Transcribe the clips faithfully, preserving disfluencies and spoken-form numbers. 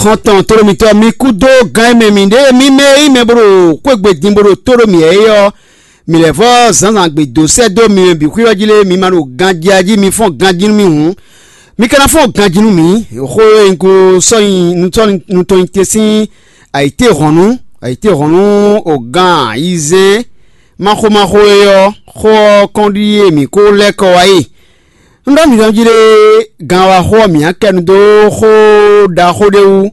Xɔ́ntɔn tlóló mitɔ́, mi kú dó gán e mɛ mǐ ɖe, mi mɛ e nyí mɛ bó ɖo xwégbe din bó ɖo tó ɖo mǐ é ɔ́, mǐ lɛ́ vɔ́ zǎnzǎn gbe dó sɛ́ dó mi mɛ bǐ xwé ɔ́ jí lé, mi ma ɖo ganjí jí, mi fɔ́n ganjí nú mì hǔn, mi ka ná fɔ́n ganjí nú mǐ. Xó e un ko sɔ́ nyi nutɔ́ nutɔn nyi te sín ayǐtéhɔ̌nnu, ayǐtéhɔ̌nnu o gan ayizɛ́n máxómáxó é ɔ́, xó ɔ́ kɔn ɖíe mǐ ko lɛ́ kɔ wá e. Un ɖɔ mǐ nɔ jí ɖe ganwaxó ɔ́ mǐ akɛnu dó xó ɖaxó ɖé wú.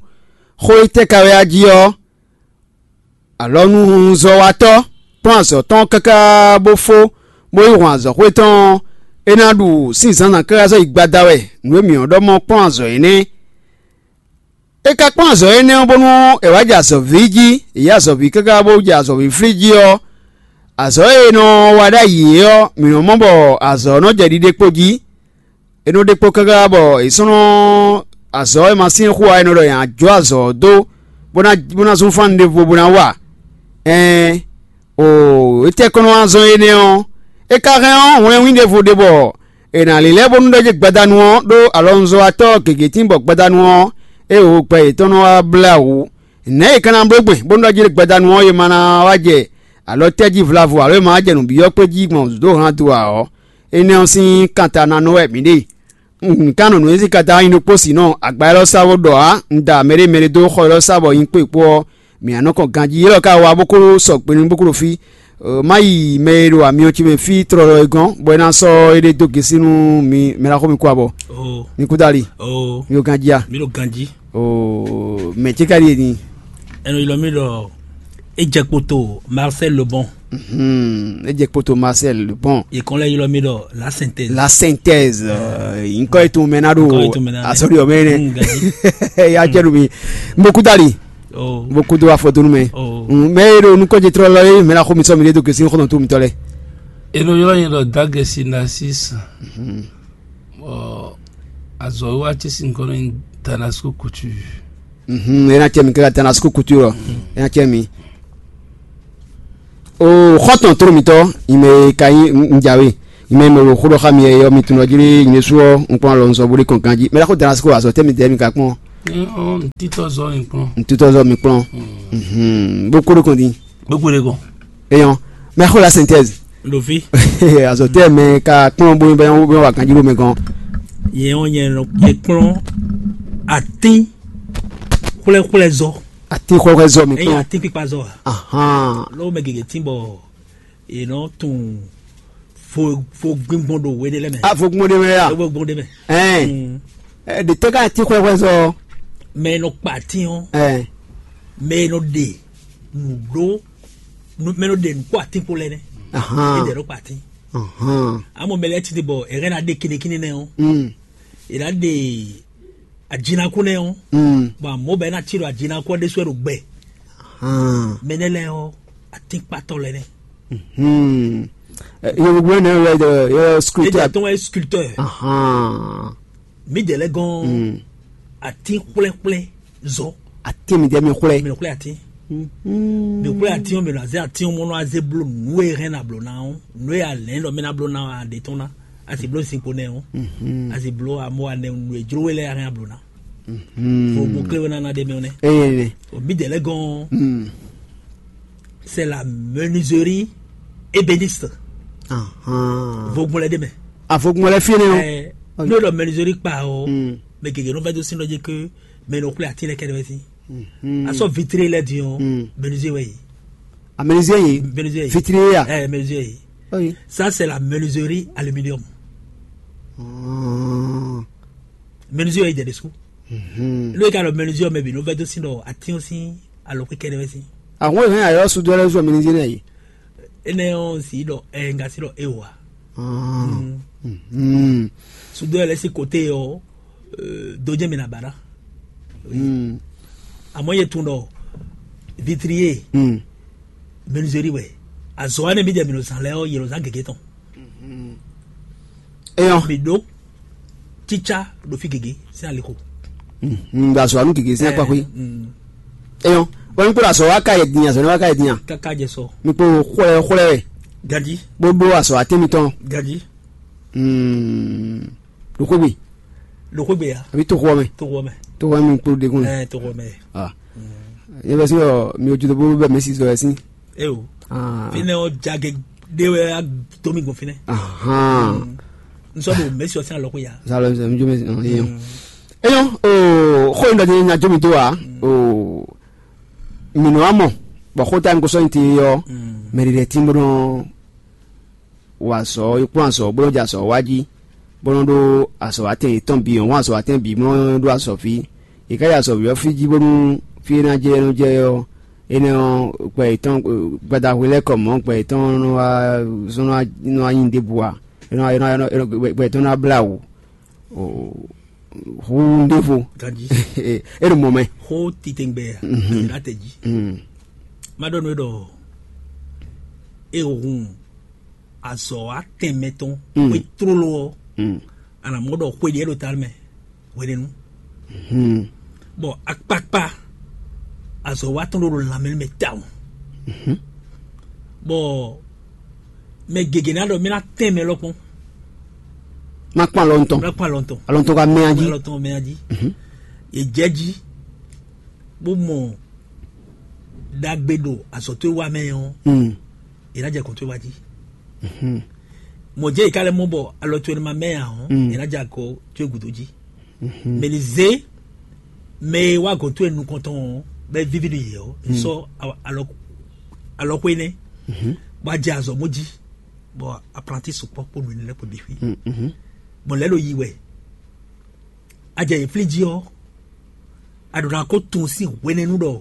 Xó e tɛ́ ka wɛ a jí ɔ́, alɔnuzɔ́watɔ́ kplɔ́n azɔ̌ tɔn káká bó fó, bó yi hɔn azɔ̌xwé tɔn ɔ́, é ná ɖu sín zǎnzǎn káká sɔ́ yi gbada wɛ nǔ e mǐ ɔ́ ɖɔ mɔ kplɔ́n azɔ̌ é nɛ́. É ka kplɔ́n azɔ̌ énɛ́ ɔ́ bónú è wǎ jɛ azɔ̌ví jí, è yí azɔ̌ví káká bó jɛ azɔ̌ví flí jí ɔ́, azɔ̌ e è nɔ wa ɖ'ayǐ é ɔ́, mǐ nɔ mɔ bɔ azɔ̌ ɔ́ nɔ jɛ ɖiɖe kpo jí. É nɔ ɖe kpo káká bɔ è sɔ́ nɔ azɔ̌ e ma syɛ́n xú ǎ, è nɔ ɖɔ è nǎ jó azɔ̌ ɔ́ dó, bó ná bó ná zún fán ɖěvo bó ná wa. Ɛɛn, o étɛ́ kɔn nɔ wá zɔ́n énɛ́ ɔ́? É ka hɛn ɔ́, hwlɛ́nwín ɖěvo ɖe bɔ è nǎ lilɛ́ bónú ɖɔ jí gbadanu ɔ́ ɖó alɔnuzɔ́watɔ́ gěgé tín bɔ gbadanu ɔ́, é wǒ gbɛ yětɔn nɔ wá blá wǔ. Nɛ̌ è ka ná bló gbɛn bónú ɖɔ jí gbadanu ɔ́, è ma ná wá jɛ alɔ tɛ́ jí vlavo alo è ma wá jɛ nǔbyɔ́ kpé jí gbɔn dǒ han do ǎ ɔ́? Énɛ́ ɔ́ sín kanta ná nɔ wɛ mǐ ɖe. Un ka nɔ nǔ e sín kanta nyi ɖokpó sin nɔ agba élɔ́ sá bó ɖɔ ǎ, un da mɛɖé mɛɖé dó xɔ élɔ́ sá bɔ nyi kpó è kpó ɔ́, mǐ nǎ nɔ kɔn ganjí. Élɔ́ ka wa bó kó sɔgbe nú bó kó ɖo fí. Má yi mɛ e ɖo amyɔ ce mɛ fí tlɔlɔ é gɔ́n, bɔ é ná sɔ́ éɖée dó gěsí nú mi mɛ ná xo mi kú abɔ. Mi kú dali. Mi ɖo ganjí a? Mi ɖo ganjí. Mɛ ce ka ɖíe ni? Ɛnɔ ylɔ mi ɖɔ ejɛ kpoto Marcel Lebon. Ejɛ kpoto Marcel Lebon. Yě kɔn lɛ ylɔ mi ɖɔ la synthèse. La synthèse. Nyikɔ yi tun mɛ na ɖo asɔɖi ɔmɛ nɛ. Ya cɛ nu mi. Mo kú dali. Mo kú do afɔdonu mɛ. Mɛ e ɖo nukɔnjɛtrɔ lɔ ye mɛ na xo mi sɔ mi ɖe do gesi xɔnɔ to mitɔ lɛ. Eno ylɔ nyi ɖɔ dagesi nasis. Azɔ wa ce sin kɔnɔ nyi Danasco Couture. Mhm, ena cɛ mi kaka Danasco Couture ɔ. Ena cɛ mi. O xɔtɔn toro mitɔ, ime ka nyi njawe. Ime me wo xo ɖɔ xa mi yɔ mi tunɔ jiri ine su ɔ nkpɔn alɔ nzɔ boli kɔn ganji. Mɛ la ko Danasco azɔ tɛ mi dɛ mi ka kpɔn. Ntitɔ zɔ mi kplɔn. Ntitɔ zɔ mi kplɔn. Mhm, bo ko ɖo kɔn di. Gbogbo ɖe kɔn. Eyɔn, mɛ xo la synthèse. Ɖo fi. Azɔ tɛ mɛ ka kplɔn bo bɛ wa ganji ɖo mɛ gɔn. Yɛn ɔ nyɛ nɔ yɛ kplɔn atín xwlɛxwlɛ zɔ. Atín xwlɛxwlɛ zɔ mi Eyi kplɔn. Atín kpikpa zɔ a? Ahan. Lɔwɔ mɛ gege tín bɔ yě nɔ tún fo fo gbíngbɔn ɖo we ɖe lɛ mɛ. A fo gbɔn ɖe mɛ ya. Fo gbɔn ɖe mɛ. Ɛn. Mm. Ɛ, ɖe tɛ ka atín xwlɛxwlɛ zɔ. Mɛ e nɔ kpa atín ɔ́. Ɛn. Mɛ e nɔ ɖe nǔɖó mɛ e nɔ ɖe nǔ kpó atín kpó lɛ nɛ. Ahan. Ede nɔ kpa atín. Ahan. Amɔ mɛ lɛ titi bɔ ɛrɛ na ɖe kinekine nɛ ɔ. Mm. Ela ɖe ajinakú nɛ ɔ. Mm. Bɔn amɔ bɛ na tsi ɖo ajinakú ɔ ɖe sɔ ɖo gbɛ. Ahan. Mɛ nɛ lɛ ɔ atínkpatɔ lɛ nɛ. Hmm. Yevugbe ne yɛ yɛ sculpteur. Ede tɔn wɛ sculpteur. Ahan. Mi de lɛ gɔn. Mm. Atin xwlɛxwlɛ zɔ. Atin mi de mi xwlɛ. Mi xwlɛ atin. Mi xwlɛ atin o mi nɔ aze atin o mɔ nɔ aze blo nu e hɛn na blo na o nu e alɛ nɔ mi na blo na a de tɔn na asi blo sin ko nɛ o. Asi blo a mɔ a nɛ nu e jlo we lɛ a hɛn a blo na. Fo mo kle we na na de mi o nɛ. Eye ne. O mi de lɛ gɔn. C'est la menuiserie ébéniste. Vogbɔn lɛ de mɛ. Avogun lɛ fi ne o. N'o lɔ menuiserie kpa o. Mɛ gege nɔ vɛ do sin dɔ dzi ke mɛ nɔ xwlɛ ati lɛ kɛ de wɛ si. Asɔ vitre lɛ di o. Menuiserie wɛ yi. A menuiserie yi. Menuiserie yi. Vitre ya. Ɛ menuiserie yi. Oui. Ça c'est la menuiserie aluminium. Menuiserie yi de de su. N'o ka lɔ menuiserie mɛ bi n'o vɛ do sin dɔ ati o sin alɔ kɛ de wɛ si. Àwọn èèyàn yàrá sùdó ẹlẹ́sùn mi ní sí náà yìí. Ene o si dɔ ɛ nga si dɔ e wa. Sudo yɛ lɛ si kote yɔ dojɛ mi na ba na. Amɔ ye tun dɔ vitrier menuiserie wɛ azɔ wa ne mi jɛ mi no zan lɛ yɔ yɛlɛ zan gege tɔn. Eyɔn. Mi ɖo tsitsa ɖo fi gege sin aliko. Ŋgbà sɔ anu gege sin akpa xwe. Eyɔn. Wọ́n mi kpɔ́ azɔ wa ka yɛ din azɔ ne wa ka yɛ din a. Kaka jɛ sɔ. Mi kpɔ́ xwlɛ xwlɛ wɛ. Gadi. Gbogbo azɔ atɛmitɔn. Gadi. Ɖo xwegbe. Ɖo xwegbe ya. Àbí tó xɔ mɛ. Tó xɔ mɛ. Tó wá mi kpó ɖe kún. Ɛ tó xɔ mɛ. Ah. Yɛ bɛ si ɔ mi ojú tó bó bɛ mɛ si sɔ ɛ si. E o. Ah. Fi nɛ ɔ jage ɖe wɛ a to mi gbɔn fi nɛ. Ahan. N sɔ do mɛ si ɔ sin alɔ ko ya. Salo sɛ mi jo mɛ si ɔ yɛ. Eyɔn o xɔ in dɔ ti nya jo mi to wa o mi nɔ amɔ bɔ xɔ ta mi ko sɔ in ti yɔ mɛ ɖi ɖe ti mo dɔn wa azɔ̌, yi kplɔ́n azɔ̌, bó nɔ́ jɛ azɔ̌ wa jí, bó nɔ́ ɖó azɔ̌watɛn yětɔn bǐ, wɔn azɔ̌watɛn bǐ, bó nɔ́ ɖó azɔ̌ fí. Yě ká yi azɔ̌ ví ɔ́ fí jí bónú fí e ná jɛ é nɔ jɛ ɔ́, énɛ́ ɔ́, gbɛ yětɔn gbadahwe lɛ́ɛ kɔ mɔ̌, gbɛ yětɔn nɔ wá zɔn nɔ wá nyi ɖěbǔ ǎ, é nɔ wá é nɔ wá- é nɔ- gbɛ yětɔn nɔ wá blá wǔ. Hu ɖěvo. Ganjí. É ɖo mɔ̌ mɛ. Xó titɛngbɛ Mhm. Àyìnlá tɛ jí. Mm. Má ɖɔ nú é ɖɔ é hun azɔ̌ atɛnmɛ tɔn Mm. Xwé tlóló ɔ́, Mm. a nǎ mɔ ɖɔ xwe ɖě ɖo ta mɛ hwenɛ́nu. Hmm. Bɔ akpakpa azɔ̌ wa tɔn ɖo lanmɛ mɛ tawun. Mhm. Bɔ mɛ gěgé ná ɖɔ mɛ ná tɛn mɛ lɔkpɔn. Má kpɔn alɔ ŋutɔn. Má kpɔn alɔ ŋutɔn. Alɔ ŋutɔn ka mɛ ají. Alɔ ŋutɔn mɛ ají. Mhm. Yě jɛ jí bó mɔ ɖagbe ɖo azɔ̌ towe wa mɛ ɔ́, Mm. Yě ná jɛ kɔn towe wa jí. Mhm. Mɔ̌ jẹ́ yě ká lɛ́ mɔ bɔ alɔ towe ma mɛ ǎ ɔ́, Mm. Yě ná jɛ akɔ towe gǔdo jí. Mhm. Mɛ ni zé mɛ e wá gɔ̌n towe nukɔn tɔn ɔ́, bɔ é víví nú yě ɔ́, Mm. Sɔ́ alɔ alɔ xwé nɛ́, Mhm. Bɔ a jɛ azɔ̌ mɔ jí, bɔ aplanti sukpɔ́ kpó nǔ énɛ́ lɛ́ɛ kpó bǐ xwí. Mm, mhm. Bɔ lɛ̌ ɖo yi wɛ. A jɛ yě flí jí ɔ́, a ɖǒ ná ko tunwun sín hwenɛ́nu ɖɔ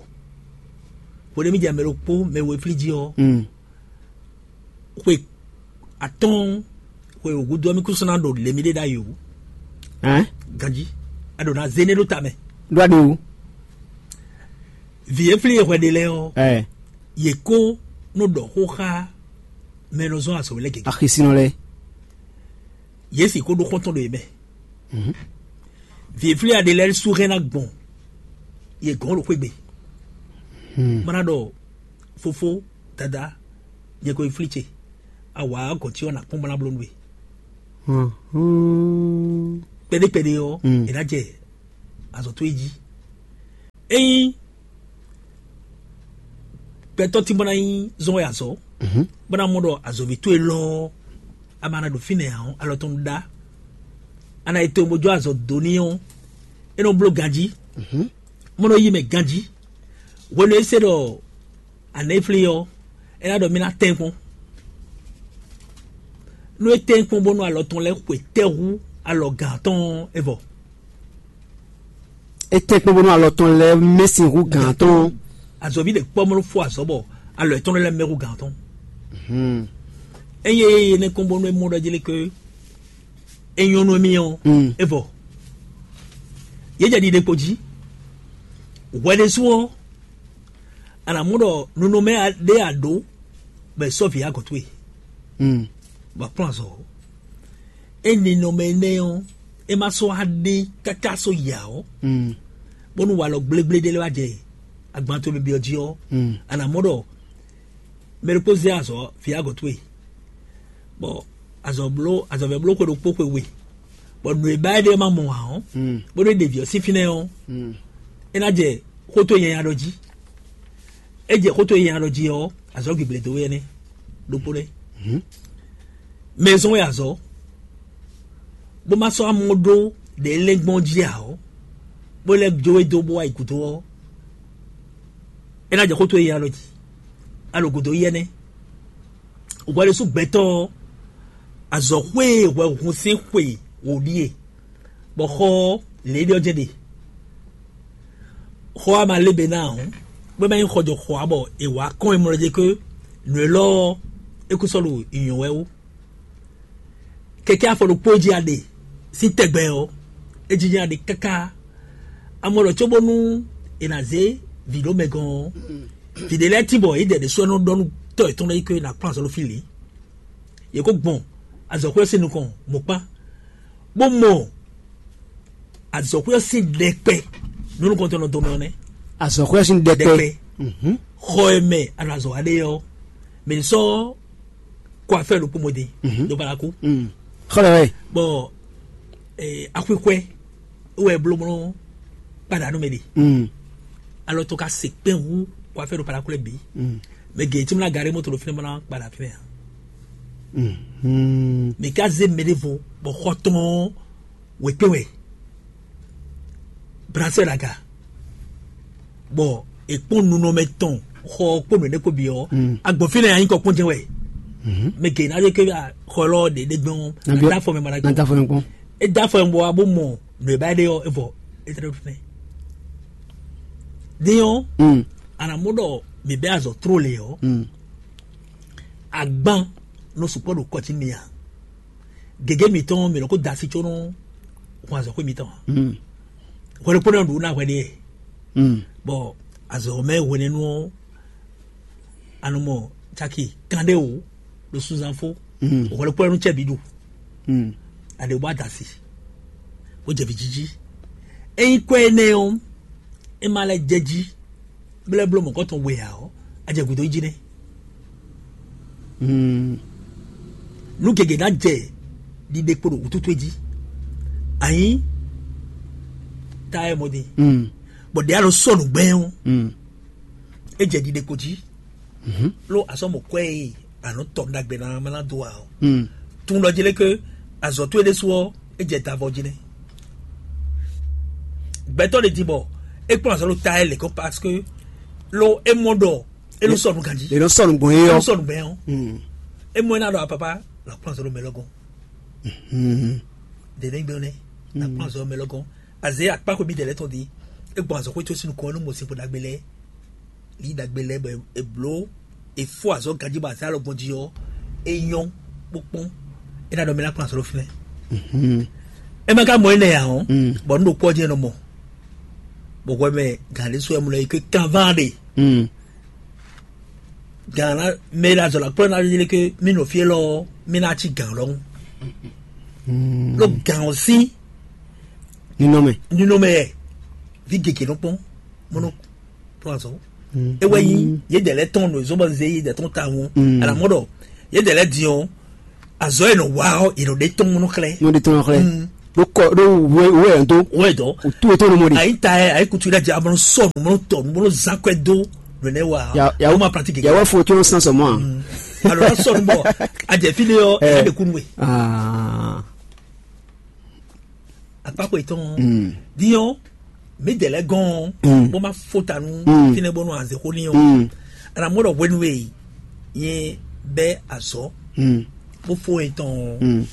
hwenɛ́nu jɛ mɛ ɖokpó mɛ we flí jí ɔ́, Mm. Xwe atɔ́ɔ́n xwe wǒgúdo ɔ́, mì kún sɔ́ ná ɖo lě mì ɖe ɖ'ayǐ wú. Hɛn? Ganjí, a ɖǒ ná zé énɛ́ ɖó ta mɛ. Ɖó aɖe wú. Vǐ e flí e hwɛ ɖe lɛ́ɛ ɔ́, Ɛ, yě kó nɔ ɖɔ xó xá mɛ e nɔ zɔ́n azɔ̌ we lɛ́ɛ gěgé. Axisinɔ lɛ́ɛ. Yě sixú ɖó xɔ́ntɔn ɖo yě mɛ. Mhm. Vǐ e flí a ɖe lɛ́ɛ sú hɛn ná gbɔn yě gɔ́n ɖo xwé gbe. Hmm. Bó ná ɖɔ fofó, dada, nyɛ ko yi flí ce. Awǎ gɔ̌ ce ɔ́ ná kpɔ́n bó ná bló nú we. Hmm. Kpɛɖé kpɛɖé ɔ́, Mm. È nǎ jɛ azɔ̌ towe jí. Ényí gbɛtɔ́ tín bó ná nyí zɔn wɛ azɔ̌, Mhm. Bó ná mɔ ɖɔ azɔ̌ví towe lɔ ɔ́, a ma ná ɖo fínɛ́ ǎ ɔ́, alɔ tɔn nɔ ɖá. A nǎ yi towun bó jó azɔ̌ dó n'i ɔ́, é nɔ bló ganjí, Mhm. Bó nɔ yí mɛ ganjí. Hwenu e é se ɖɔ a nǎ yi flí ɔ́, é ná ɖɔ mì ná tɛ́n kpɔ́n. Nú é tɛ́n kpɔ́n bónú alɔ tɔn lɛ́ɛ xwe tɛ́ hú alɔ gǎn tɔn ɔ́, é vɔ. É tɛ́n kpɔ́n bónú alɔ tɔn lɛ́ɛ mɛ sin hú gǎn tɔn. Azɔ̌ví ɖě kpɔ́ mɔ fó azɔ̌ bɔ alɔ yětɔn lɛ́ɛ mɛ hú gǎn tɔn. Hmm. Ényí é yé nɛ́ kpɔ́n bónú é mɔ ɖɔ jlé ké é nyɔ́ nú émí ɔ́, Mm. É vɔ. Yě jɛ ɖiɖe kpo jí. Hwɛ ɖésú ɔ́, a nǎ mɔ ɖɔ nunɔmɛ ɖé a ɖǒ bɔ è sɔ́ vǐ agɔ̌ towe, Mm. bɔ a kplɔ́n azɔ̌ ɔ́. Ényí ninɔmɛ énɛ́ ɔ́, é ma sɔ́ wá ɖe káká sɔ́ yi ǎ ɔ́, Mm. Bónú walɔ gblégblé ɖé lɛ́ɛ wá jɛ agban towe byɔ́ jí ɔ́, Mm. A nǎ mɔ ɖɔ mɛ ɖokpó zé azɔ̌ vǐ agɔ̌ towe, bɔ azɔ̌ bló azɔ̌vɛ́ bló xwe ɖokpó xwe we, bɔ nǔ e ba é ɖe ɔ́ ma mɔ ǎ ɔ́, Mm. Bónú é ɖe vǐ ɔ́ sín fínɛ́ ɔ́, Mm. É ná jɛ xó towe nyanya ɖɔ jí. É jɛ xó towe nyanya ɖɔ jí ɔ́, azɔ̌ gǐgblé dó we énɛ́ ɖokpó nɛ́. Mhm. Mɛ e zɔ́n we azɔ̌, bó ma sɔ́ amɔ ɖó ɖě lɛ́ gbɔn jí ǎ ɔ́, bó lɛ́ jó we dó bó wá yi gǔdo ɔ́, é ná jɛ xó towe nyanya ɖɔ jí. A ɖo gǔdo yi énɛ́. Hwɛ ɖésú gbɛtɔ́ ɔ́, azɔ̌xwé e hwɛ hun sín xwe wǒ ɖíe, bɔ xɔ ɔ́, lě ɖé ɔ́ jɛ́n ɖe. Xɔ ɔ́ ma lé be ná ǎ hǔn, bó ma nyí xɔ jɔ xɔ ǎ bɔ è wǎ kɔn e mlɔ́ jɛ ké nǔ élɔ́ ɔ́, é kú sɔ́ ɖo nyǐnyɔ́ wɛ wú. Kɛkɛ́ afɔ ɖokpó e jí a ɖe sín tɛgbɛ ɔ́, é jínjɔ́n a ɖe káká. Amɔ ɖɔ cóbónú è nǎ zé vǐ ɖó mɛ gɔ́n ɔ́, vǐ ɖé lɛ́ɛ tín bɔ yě jɛ ɖě sú ɔ́ nɔ ɖɔ nú tɔ́ yětɔn lɛ́ɛ ké ná kplɔ́n azɔ̌ ɖo fí lě. Yě kó gbɔn azɔ̌xwé ɔ́ sín nukɔn mɔ̌kpán, bó mɔ azɔ̌xwé ɔ́ sín ɖɛkpɛ nú nukɔntɔn nɔ dɔn mɛ ɔ́ nɛ́. Azɔ̌xwé ɔ́ sín ɖɛkpɛ. Ɖɛkpɛ. Mhm. Xɔ e mɛ a nɔ azɔ̌ wa ɖe ɔ́, mɛ ní sɔ́ kó afɛ́ ɖokpó mɔ din Mhm. Ɖo Balaku. Mm. Xɔ lɛ wɛ. Bɔ eh, axwixwɛ wɛ bló mlɔ kpaɖa nú mɛ ɖe. Alɔ to ka se kpɛn hu kó afɛ ɖo paɖaku lɛ bǐ. Mɛ gě tí mo ná garé moto ɖo fínɛ́ bó ná kpaɖa fínɛ́ ǎ. Mɛ ka zé mɛ ɖěvo bɔ xɔ tɔn wěkpé wɛ brasɛ ɖo aga, bɔ è kpɔ́n nunɔmɛ tɔn xɔ ɔ́ kpó nǔ énɛ́ kpó bǐ ɔ́, agbɔ̌n fínɛ́ anyí kɔ kpɔ́n jɛ́n wɛ. Mɛ gě ná ɖe ké xɔ élɔ́ ɖě ɖé gbɛn ɔ́, ná dó afɔ mɛ mɔ ná gbɔn. É dó afɔ mɛ kpɔ́n. É dó afɔ mɛ bɔ wá bó mɔ nǔ e ba é ɖe ɔ́, é vɔ é tlɛ ɖo fínɛ́. Din ɔ́, a nǎ mɔ ɖɔ mǐ bɛ́ azɔ̌ tló lě ɔ́, agban nɔ sukpɔ́ ɖo kɔ jí mi ǎ. Gěgé mǐtɔn mǐ nɔ ko da asi có nɔ hun azɔ̌xwé mǐtɔn ǎ. Hwɛɖokpónɔ ɖu ná hwɛ ɖe, bɔ azɔ̌ mɛ hwenɛ́nu ɔ́, a nɔ mɔ caki kanɖéwǒ ɖo sunzan fó, hwɛɖokpónɔ cɛ bǐ ɖu, a ɖě bó ada asi, bó jɛ vǐ jíjí. Ényí kwɛ́ énɛ́ ɔ́, é ma lɛ́ jɛ jí, bó lɛ́ bló mɔ̌kɔtɔn we ǎ ɔ́, a jɛ gǔdo yi jí nɛ́. Nú gěgé ná jɛ ɖiɖe kpo ɖo wǔtútú jí, anyí ta ɛ mɔ din, bɔ ɖě a nɔ sɔ́ nǔgbɛ́ ɔ́, é jɛ ɖiɖe kpo jí, ló a sɔ́ mɔ kwɛ́ e a nɔ tɔ ɖagbe ná mɛ ná dó ǎ ɔ́. Tun ɖɔ jí lé ké azɔ̌ towe ɖésú ɔ́, é jɛ davɔ jí nɛ́. Gbɛtɔ́ ɖé din bɔ é kplɔ́n azɔ̌ ɖo ta ɛ lě kɔn, parce que ló é mɔ ɖɔ é nɔ sɔ́ nǔ ganjí. È nɔ sɔ́ nǔ gbɔn é É nɔ ɔ́. Sɔ́ nǔ gbɛn ɔ́. É mɔ é ná ɖɔ apapa la kplɔ́n azɔ̌ ɖo mɛ lɔ gɔ́n. Dě nɛ́ gbɛn nɛ́ la kplɔ́n azɔ̌ ɖo mɛ lɔ gɔ́n. Azě akpá xwe mǐdɛɛ lɛ́ɛ tɔn din. É gbɔn azɔ̌ xwé có sín nukɔn ɔ́ nú mɔ sixú ɖagbe lɛ́ɛ. Lǐ ɖagbe lɛ́ɛ bɔ è blǒ è fó azɔ̌ ganjí bɔ azǎn alɔ gbɔn jí ɔ́, é nyɔ́ kpókpɔ́n. É ná ɖɔ mɛ ná kplɔ́n azɔ̌ ɖo fínɛ́. É ma ka mɔ énɛ́ ǎ ɔ́, bɔ nú ɖokpó ɔ́ jɛ́n nɔ mɔ, bɔ hwɛ mɛ gǎn ɖé sú wɛ mlɔ yi ké kanván ɖe. Gǎn ná mɛ e ɖo azɔ̌ ná kplɔ́ ná ɖe ké mí nɔ fí élɔ́ ɔ́, mí ná cí gǎn lɔhún. Ɖó gǎn ɔ́ sín Ninɔmɛ. Ninɔmɛ yɛ vi gěgé nɔ kpɔ́n mɔnɔ kplɔ́n azɔ̌. É wɛ nyí yědɛɛ lɛ́ɛ tɔn nɔ zɔ́n bɔ zé yědɛɛ tɔn tawun. Alamɔ ɖɔ yědɛɛ lɛ́ɛ din ɔ́, azɔ̌ e nɔ wa ɔ́, è nɔ ɖe tɔn mɔnɔ xlɛ́. Nɔ ɖe tɔn xlɛ́. Ɖó kɔ ɖó wɛ wɛ ɛ dó. Wɛ dɔ. O tu etɔn nɔ mɔ de. Ayi ta yɛ ayi kutu ɖe jɛ amɔ sɔ nu mɔ tɔ nu mɔ zan kɔɛ do. Nɔ ne wa. Ya ya Awo ma pratique. Ya wɛ fo tí o sàn sɔmɔ a. Alo na sɔ nu bɔ a jɛ fi de yɔ ɛ de kunu we. Aa. Akpákpó yětɔn. Din ɔ́, mǐdɛɛ lɛ́ɛ gɔ́n ɔ́, bó má fó ta nú fínɛ́ bónú azě xó n'i ɔ́, anamú ɖɔ hwenu e nyɛ bɛ́ azɔ̌ bó fó nyɛ tɔn ɔ́, un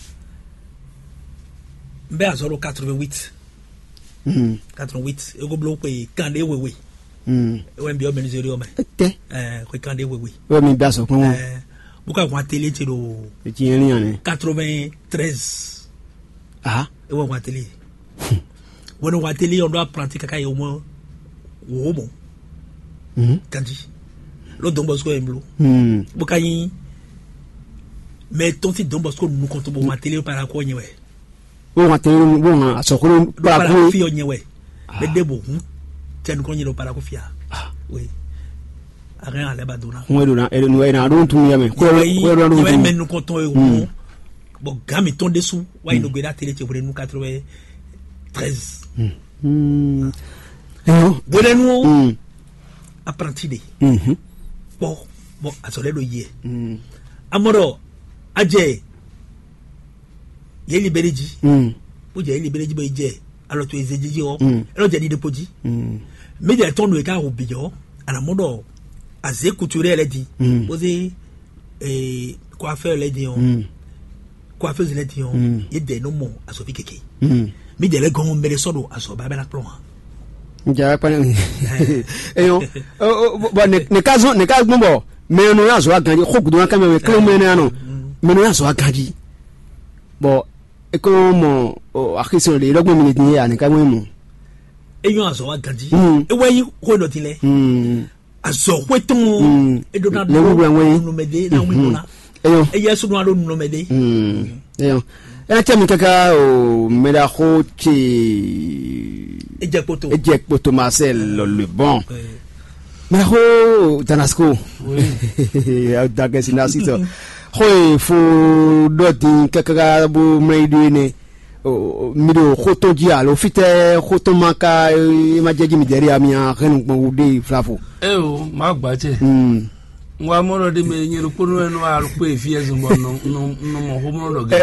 bɛ́ azɔ̌ ɖo quatre-vingt-huit. Quatre-vingt-huit é ko bló xwe kanɖé wewe. É wɛ un byɔ́ mɛnizéri ɔ́ mɛ. Tɛ. Xwe kanɖé wewe. Wɛ mi bɛ azɔ kpɔn. Bó ka hun atelier ce ɖo Etí yẹn ní yàn ni. Quatre-vingt-treize. Ah. É wɛ hun atelier. Wɛn hun atelier ɔn ɖo apprenti kaka yi o mɔ wo mɔ. Kanji. Lo Don Bosco yɛ blo. Bó ka nyi mɛ tɔn ti Don Bosco nukɔn tó bó hun atelier para kɔ nyɛ wɛ. Wọ́n wá tẹ́lẹ̀ wọ́n wá sọ̀kúrú Para kparaku. Kó fi ɔ nyɛ wɛ. Bɛ de bo hun. Tɛ nukɔn nyɛ ɖo para kó fia. Oui. Arɛn alɛ ba dona. Wọ́n yɛ dona ɛdɛ nu ɛdɛ adu tun yɛ mɛ. Kó yɛ dona Yɛ adu mɛ tun. Nukɔntɔn ye hun. Bɔn gami tɔn desu wa yi nogbe da tele tse wele nu quatre-vingt-treize. Ɛyɔ. Wele nu o. Apprenti de. Kpɔ bɔn azɔlɛ ɖo yɛ. Amɔɖɔ adze yě libéré jí. Bó jẹ́ yě libéré jí bó yi jẹ́ alɔ tó ezé jí jí ɔ. Ɛ lɔ jẹ́ ɖiɖe kpo jí. Mí jẹ́ tɔn nù yě ká wò bìjọ́ anamɔ ɖɔ azé kutu rɛ lɛ di. Bó zé coiffeur lɛ di ɔ. Coiffeuse lɛ di ɔ. Yé dɛ nɔ mɔ azɔvi keke. Mí jẹ́ lɛ gɔn mɛ ɖe sɔ ɖo azɔ bá bɛ na kplɔn wa. Njɛ akpa ne. Eyɔn. Bɔn ne ka zɔn ne ka gbɔn bɔ mɛ nɔ ya zɔ aganji xɔ gudu na kɛmɛ mɛ klo mɛ ne anɔ mɛ nɔ ya zɔ aganji. Bɔn e ko mɔ axisɔ le lɔgbɔn mi le din ye ani ka mɔ mɔ. Eyɔn azɔ wa ganji. Ewɛ yi xɔ dɔ ti lɛ. Azɔ xwe tɔn. Eɖo na do nunɔmɛ de na wi dona. Eyɔn. Eye sunu alo nunɔmɛ de. Eyɔn. Ena tse mi kaka o mɛɖaxo tse. Edze kpoto. Edze kpoto Marcel le bon. Mɛɖaxo Danasco. Dagɛsi na sitɔ. Xo e fo ɖɔ din kaka bo mɛ yi do ene. mi ɖo xó tɔn jí alo fítɛ́ xó tɔn ma ka é ma jɛ jí mi dɛ̌ ɖe a mi a hɛn nukpɔn wú ɖe vlavo. Eo, má gbà tɛ. Hmm. N wa mɔ ɖɔ ɖe mɛ nyɛ ɖokpónɔ wɛ nɔ alukpé efi ɛzɔn bɔ nɔ nɔ nɔ mɔ xó mɔ ɖɔ gɛ.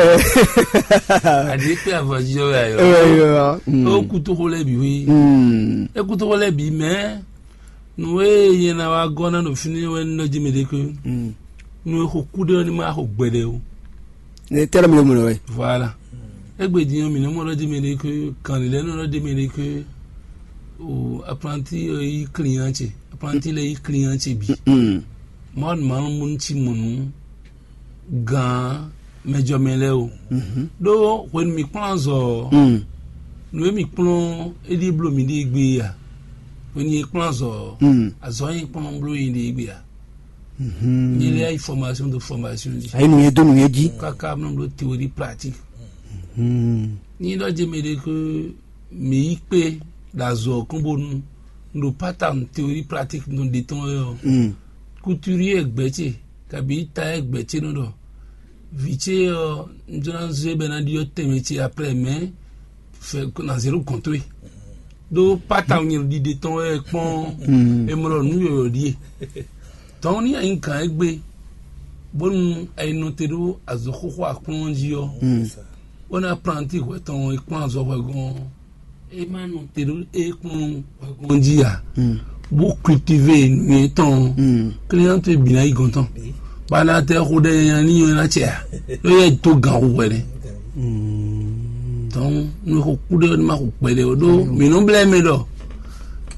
Aɖi kpé avɔ jijɔ wɛ ayɔ. Eyɔ. Hmm. O kutu xó lɛ bi wi. Hmm. E kutu xó lɛ bi mɛ. Nu e nyɛ ná wá gɔ́ ná ɖo fínɛ́ wɛ ní ɖɔ jí mɛ ɖé ké. Hmm. Nu e xo kúɖé ɔ́ ní ma xo gbɛɖɛ o. Ne tɛ́ lɔ mi ɖo mɔ wɛ. Voilà. Égbé din ɔ́, mǐ nɔ́ mɔ ɖɔ jí mɛ ɖé ké, kan lǐlɛ́ nɔ ɖɔ jí mɛ ɖé ké, o aplanti ɔ́ yí klínyán ce, aplanti lɛ́ɛ yí klínyán ce bǐ. Mm. Mɔ̌ mawu mú cí mɔ nǔ gan mɛjɔmɛ lɛ́ɛ o. Mhm. Ɖó hwenu mǐ kplɔ́n azɔ ɔ́, Mm. nǔ e mǐ kplɔ́n é ɖíe bló mǐ ɖíe gbé a? Hwenu e kplɔ́n azɔ ɔ́, Mm. azɔ e kplɔ́n bló nyi ɖíe gbé a? Mhm. Nyɛ lɛ́ yi formation de formation jí. Ayi nǔnye dó nǔnye jí. Káká nɔ bló théorie pratique. Mhm. Ní ɖɔ jɛ mɛ ɖé ké mǐ yi kpé ɖo azɔ kɔn bónú ɖo pátá théorie pratique nɔ ɖe tɔn wɛ ɔ́. Mm. Couturier gbɛ̌ ce kabi tailleur gbɛ̌ ce nɔ ɖɔ vǐ ce ɔ́, un jló ná zé bɔ é ná ɖyɔ́ tɛnmɛ ce après, mais fɛ na zéro gɔn towe. Ɖó pata nyɛ ɖiɖe tɔn wɛ kpɔ́n. Mm. E mɔ ɖɔ nǔ yɔyɔ ɖíe. Tɔn ní ayi gǎn égbé, bónú ayi nɔ te ɖó azɔ̌ xóxó aklɔ́n jí ɔ́, Mm. bónú aplanti hwɛ tɔn e kplɔ́n azɔ̌ hwɛ gɔ́n ɔ́, é má nɔ te ɖó é kplɔ́n hwɛ gɔ́n jí ǎ. Mm. Bó cultivé nǔnywɛ́ tɔn ɔ́, Mm. client bǐ ná yi gɔ̌n tɔn. Bá ná tɛ xó ɖɛ nya ní nyɔ́ ná cɛ ǎ. Ló yɛ dó gǎn xó hwɛ nɛ́. Mm. Donc nú xó kú ɖé ɔ́ ní má xó kpɛɖé ó ɖó mǐ nɔ blɛ́ mɛ ɖɔ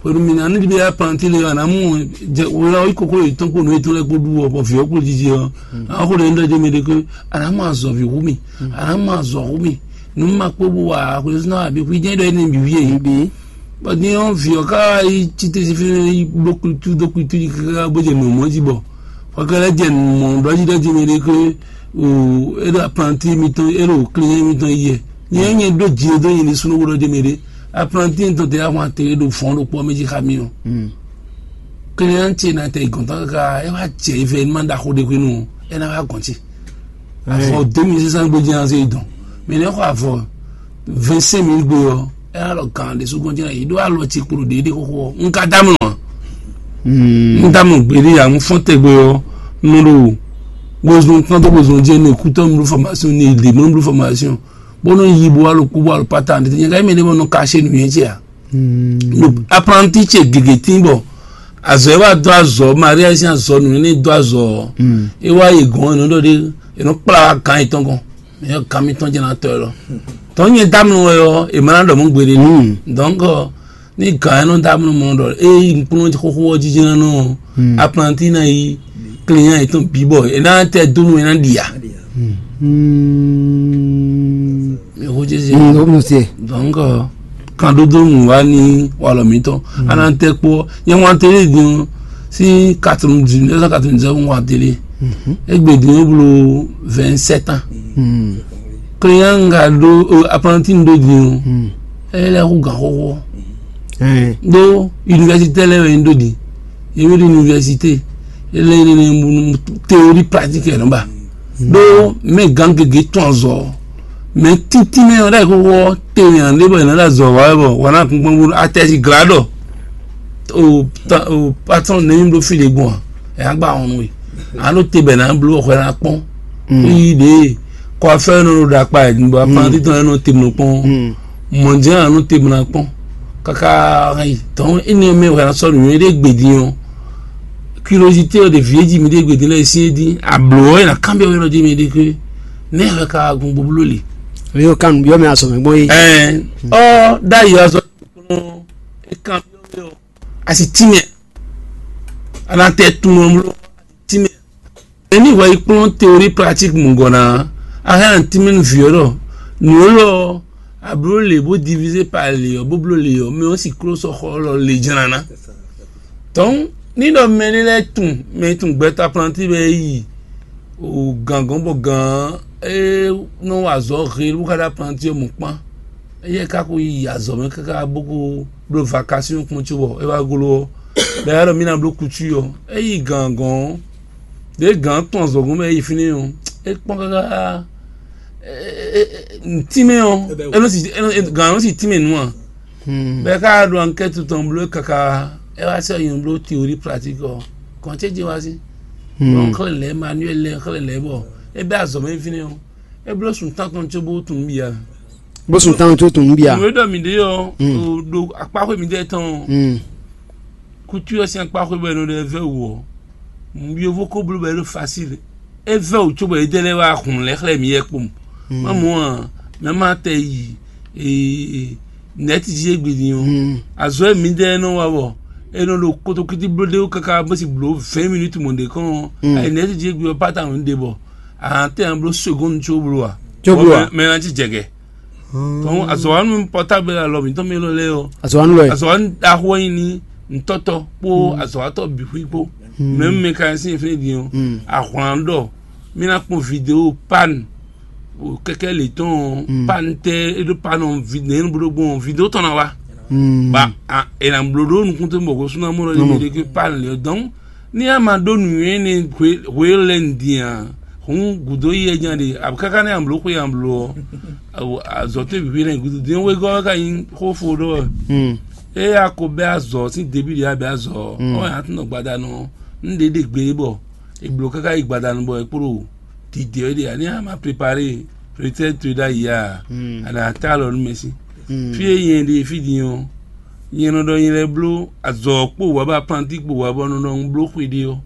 hwenu mǐ ná nú ɖiɖe aplanti le ɔ́, a nǎ mɔ jɛ wlá ɔ́ yi kókó yětɔn kpó nǔ yětɔn lɛ́ɛ kpó ɖu ɔ́, bɔ vǐ ɔ́ kpó jiji ɔ́, a xó ɖě ní ɖɔ jɛ mɛ ɖé ké a nǎ mɔ azɔ̌ví hú mì, a nǎ mɔ azɔ̌ hú mì, nǔ ma kpó bó wa xwezínɔ abǐ xwí jɛ́n ɖɔ énɛ́ bǐ wíe. Bɔ din ɔ́, vǐ ɔ́ ká yi cí te sín fínɛ́ yi bló kutu dó kutu yi káká bó jɛ nǔ mɔ̌ jí bɔ hwɛkɛ lɛ́ɛ jɛ nǔ mɔ̌ ɖɔ jí ɖɔ jí mɛ ɖé ké o é ɖo aplanti mitɔn é ɖo klínyɛ mitɔn yi yɛ. Nyɛ nyɛ ɖó jǐ dó nyi ní súnú ɖɔ jí mɛ ɖé aplanti mitɔn tɛ ahwan te ɖo fɔ́n ɖokpó mɛ jí xa mi ɔ́. Klínyɛ ce na tɛ gɔ̌ntɔn káká é wá jɛ yi fɛ é má ɖaxó ɖé xwé nú ɔ́ é ná wá gɔ̌n ce. Avɔ deux mille cinq cents gbé jɛ́n ase yi dɔn. Mais ne xɔ avɔ vingt-cinq mille gbé ɔ́, é ná lɔ gǎn ɖé sú gbɔn jɛ́n yi ɖó alɔ ce kpo ɖo ɖéɖé xóxó ɔ́, un ka dá mlɔ. Un dá mlɔ gbé ɖé ya, un fɔ́n tɛgbɛ ɔ́, nɔ ɖo bozɔn kán tó bozɔn jɛ ne kútɔ mlu formation ne le mɔ mlu formation. Bó nɔ yi bo alo kú bo alo pata ne tɛ nyɛ ka yi mɛ ne mɔ nɔ ka se nuyɛ cɛ a. Apprenti ce gègé tín bɔ azɔ e wá dó azɔ Maria sín azɔ nǔ ne dó azɔ ɔ́, é wá yi gɔn ɛnɛ ɖɔ ɖe, ɛnɔ kplá wá gán yětɔn gɔn. Mɛ yɔ gán mitɔn jɛ ná tɔ ɛ lɔ. Tɔn nyɛ dá mlɔ wɛ ɔ́, è ma ná ɖɔ mɔ gbeɖé nú. Donc ní gǎn ɛ nɔ dá mlɔ mɔ ɖɔ é yi nukplɔ́n xóxó ɔ́ jijɛ ná nɔ apprenti ná yi client yětɔn bǐ bɔ è ná tɛ dó nú è ná ɖi ǎ. Mɛ xó jɛ se. Ŋgɔ mu se. Donc kan ɖó dó nú wa ní walɔ mǐtɔn. Ana tɛ kpó nyɛ wan télé din sí quatre-vingt-dix neuf cent quatre-vingt-dix wan télé. Egbe din ó blo vingt-sept ans. Client nga ɖó apprenti ɖó din o. Ele xú gan xóxó. Ɖó université lɛ wɛ ɖó din. Yɛmɛ ɖo université ele ne ne mu théorie pratique yɛ nɔba. Ɖó mɛ gan gege tɔn azɔ mɛ titi mɛ ɔ́ ɖe xóxó tɛnmɛ ande bɔ yɛn ɖe azɔ wa bɔ wana kunkun bɔ atɛsi gla ɖɔ o ta o patɔn ne mi ɖo fi ɖe gbɔn a ɛyà gba wɔn nue alo te bɛ na blo xɔ na kpɔn yi ɖe kɔ afɛ nɔ ɖo ɖakpa yɛ bɔ apɔn titɔn yɛ nɔ te mɔ kpɔn mɔdze anɔ te mɔ na kpɔn kaka yi tɔn ene mɛ wɛ na sɔ nuyɔ ɖe gbedi yɔ. Curiosité ɔ́ ɖe vǐ e jí mi ɖe gbedi lɛ sín é dín ablǒ ɔ́ é ná kanbyɔ́ wɛ nɔ jí mi ɖe ké nɛ́ wɛ ka gun boblo le. Yóò kan yóò mɛ asɔmɛ gbɔn yi. Ɛɛ ɔ ɖ'ayǐ ɔ́ sɔ é kan byɔ́ wɛ ɔ asi tínmɛ a nà tɛ tunwun ɔ́ bló asi tínmɛ. Eni hwɛ yi kplɔ́n théorie pratique mɔ̌gɔ́ ná a hɛn an tínmɛ nú vǐ ɔ́ ɖɔ nǔ élɔ́ ɔ́ a bló lě bó divisé par lě ɔ́ bó bló lě ɔ́ mɛ ɔ́ si kló sɔ́ xɔ lɔ lě jlá ná. Donc ní ɖɔ mɛ ní lɛ́ɛ tunwun mɛ tunwun gbɛtɔ́ aplanti bɛ yi o gǎngɔn bɔ gǎn e nɔ wa azɔ̌ he bó ka ɖo aplanti ɔ́ mɔ kpán. Éyɛ́ ka ko yi azɔ̌ mɛ káká bó ko bló vakasíɔn kpɔ́n cóbɔ é wá gló ɔ́, bɔ é wá ɖɔ mí ná bló kutu ɔ́, é yi gǎngɔn ɔ́, ɖě gǎn tɔn azɔ̌ gɔ́n mɛ é yi fínɛ́ ɔ́, é kpɔ́n káká ntínmɛ ɔ́, é nɔ si é nɔ gan nɔ si tínmɛ nú a. Bɛɛ ká ɖo ankɛtu tɔn bló kaka, é wá sɛ yɔn bló théorie pratique ɔ́. Kɔn cé jɛ wá sí. Ɔn xlɛ lɛ, manuel lɛ xlɛ lɛ bɔ é bɛ azɔ mɛ fínɛ ɔ́, é bló sun tán tɔn tso bó tun bia. Bó sun tán tso tun bia. Nǔ e ɖɔ mǐ ɖe ɔ́, ɖo akpáxwé mǐdɛɛ tɔn ɔ́, kútu ɔ́ sín akpáxwé bɔ é nɔ ɖe vɛ́ wǔ ɔ́, yovo ko bló bɔ é ɖo facile. É vɛ́ wǔ cóbɔ é dɛ lɛ́ wá hun lɛ́ xlɛ́ mǐ yɛ kpowun. Má mɔ a, mɛ ma tɛ yi nɛ̌ti jí égbé din ɔ́, azɔ̌ e mǐdɛɛ nɔ wa bɔ é nɔ ɖo kotokíti bló ɖé wú káká bó si blǒ vɛ̌ɛn minútu mɔ̌ ɖě kɔn ɔ́, ayi nɛ̌ti jí égbé ɔ́ pata nǔ ɖe bɔ a tɛ ná bló segɔ́ndu có bló a. Có bló a. Mɛ ná cí jɛgɛ. Tɔn azɔ̌wanu pɔtábɛl alɔ mǐtɔn mɛ lɔ lɛ́ɛ ɔ́, azɔ̌wanu lɔ azɔ̌wanu ɖaxó wɛ nyí ní ntɔ́tɔ kpó azɔ̌watɔ́ bǐ xwí kpó. Mɛ mɛ ka nyí sín fínɛ́ din ɔ́, ahwlǎn ɖɔ mí ná kpɔn video pan kɛkɛ lě tɔn ɔ́, pan tɛ é ɖó pan ɔ́, nɛ̌ nɔ bló gbɔn video tɔn ná wá. Ba è nǎ bló ɖó nukún tó bɔ hwesúnɔ mɔ ɖɔ ní mɛ ɖé ké pan lě ɔ́ dɔn. Ní a ma ɖó nǔnywɛ́ énɛ́ hwe lɛ́ɛ din a, hǔn gǔdo yi wɛ nya ɖe, abǐ káká nɛ́ a blǒ xwe a blǒ ɔ́, azɔ̌ towe bǐ nɛ́ gúdo din wegɔ́ wɛ ka nyí xó fo ɖó wɛ. Ée a ko bɛ́ azɔ̌ sín Davídi a bɛ́ azɔ̌ ɔ́, ɔ́ a tún nɔ gbadanu ɔ́, un ɖě ɖe gbe bɔ è blǒ káká yi gbadanu bɔ è kpló dǐdě wɛ ɖe ǎ. Ní a ma prepare retraite towe ɖ'ayǐ a, a nǎ tá alɔ nú mɛ sín. Fí e nyɛ ɖe fí din ɔ́, nyɛ nɔ ɖɔ nyɛ lɛ́ bló azɔ̌ kpo wǎ bɔ aplanti kpo wǎ bɔ nɔ ɖɔ un bló xwe ɖé ɔ́,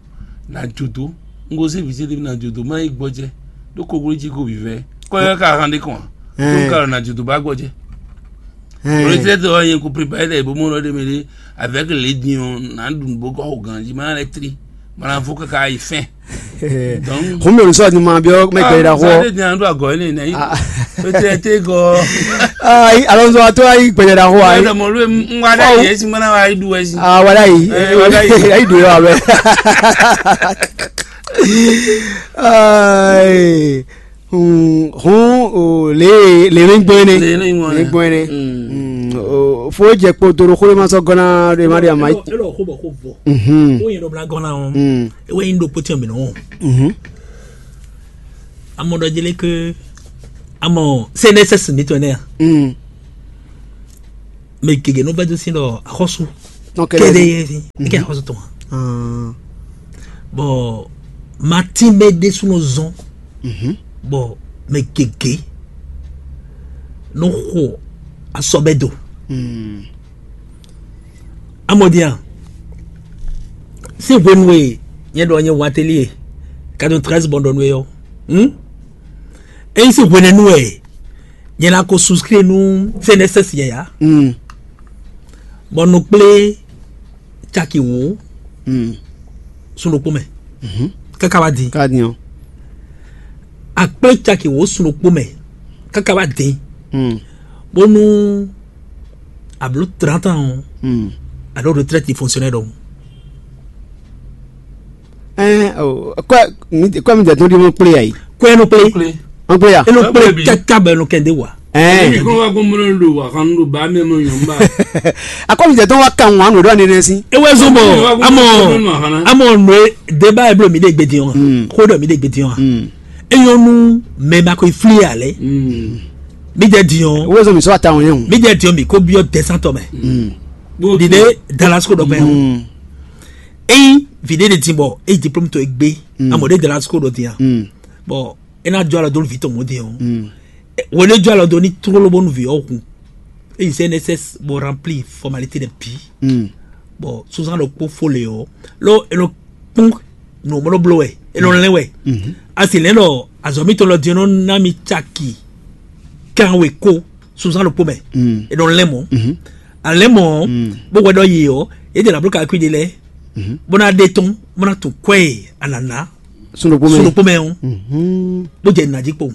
nǎ jó dó. Un gosín vǐ ce ɖé ná jó dó má yi gbɔjɛ ɖó koklójí ko vǐvɛ́. Kɔ́yɔ́ ka han ɖé kɔn ǎ. Tó ka ɖɔ nǎ jó dó bá gbɔjɛ. Retraite ɔ́ nyɛ ko prépare ɖɛ bó mɔ ɖɔ ɖé mɛ ɖé avec les din ɔ́ nǎ ɖu nǔ bó gɔ́ xo ganjí má lɛ́ tlí. Mlafo kaka yi fɛn. Donc, xɔmɛ olùsọ ni ma biɔ mɛ gbɛ da xɔ. Sáré di an do agɔ ne ne. Peut-être go. Ayi, alonso ato ayi gbɛ da xɔ ayi. Ɛdɔ mɔ lu ŋwa da yi esi mana wa yi du esi. Ah, wala yi. Wala yi. Ayi du wa bɛ. Ayi. Hun, hun, o, le le ne gbɔn ne. Le ne gbɔn ne. Le gbɔn ne. Mm. Mm, o, fo jɛ kpo doro xolo ma sɔ gɔna de ma de ama. Elo xo bɔ xo vɔ. Mhm. O yɛn dɔ bla gɔna o. Mm. Ewe yin ɖokpó tiɛ mi nɔ. Mhm. Amɔ ɖɔ jele ke amɔ C N S S mi tɔ ne ya. Mm. Mɛ gege nɔ vɛdo sin ɖɔ axɔsu. Kɛɖe yɛ fi eke axɔsu tɔn. Bɔ matin bɛ ɖésú nɔ zɔn. Bɔ mɛ gege nɔ xɔ asɔ bɛ do. Amɔdia, si hwenu e nyɛ ɖɔ nyɛ wateli e quatre-vingt-treize bɔn ɖɔ nú e ɔ́, eyi si hwenɛnu wɛ nyɛ ná ko souscrire nú C N S S yɛ ya, bɔ nɔ kplé caki wǒ sun ɖokpó mɛ káká wá din. Ká din ɔ́. Akplé caki wǒ sun ɖokpó mɛ káká wá din, bónú a blǒ trente ans ɔ́, a ɖǒ retraite fonctionnaire ɖɔhun. Ɛn o, kɔɛ mi kɔɛ mi jɛ tɔn ɖi mɔ kplé ayi. Kɔɛ nɔ kplé. An kplé ya. E nɔ kplé kaka bɛ nɔ kɛnde wa. Ɛn. Ebi kɔn wa gbɔn mɔ ɖo wa kan ɖo ba mɛ mɔ nyɔn ba. Akɔ mi jɛ tɔn wa kan wa nɔ ɖo ani nɛ si. Ewɛ zɔn bɔ amɔ amɔ nɔ e deba e blo mi de gbe din wa. Ko dɔ mi de gbe din wa. Eyɔn nu mɛ ma ko fli alɛ. Mi jɛ din o. Ewɛ zɔn mi sɔ ata wɔn yɛn o. Mi jɛ din o mi ko biɔ dɛsantɔ mɛ. Dide dalasiko dɔ bɛ. Eyi vi ɖé ɖe din bɔ eyi diplôme tɔn e gbé amɔ ɖé de la sukúlu ɖo din a bɔn e ná jɔ alɔ dó vi tɔn mɔ din o. Wo ɖé jɔ alɔ dó ní tlóló bónú vi ɔ́ hun eyi C N S S bó rempli formalité ɖe bǐ bɔn sunzan ɖokpó fó le ɔ́ ló e nɔ kpɔ́n nǔ mɔ ɖó bló wɛ e nɔ lɛn wɛ asi lɛn ɖɔ azɔ mitɔn lɔ din nɔ ná mi caki kan we ko sunzan ɖokpó mɛ e nɔ lɛn mɔ alɛ́ mɔ bó hwɛ ɖɔ yě ɔ́ yě jɛ nǎ bló kakwi ɖé lɛ́ɛ bó ná ɖe tɔn bó ná tun kwɛ́ e anǎná sun ɖokpó mɛ sun ɖokpó mɛ ɔ́ bó jɛ nǎ jí kpowun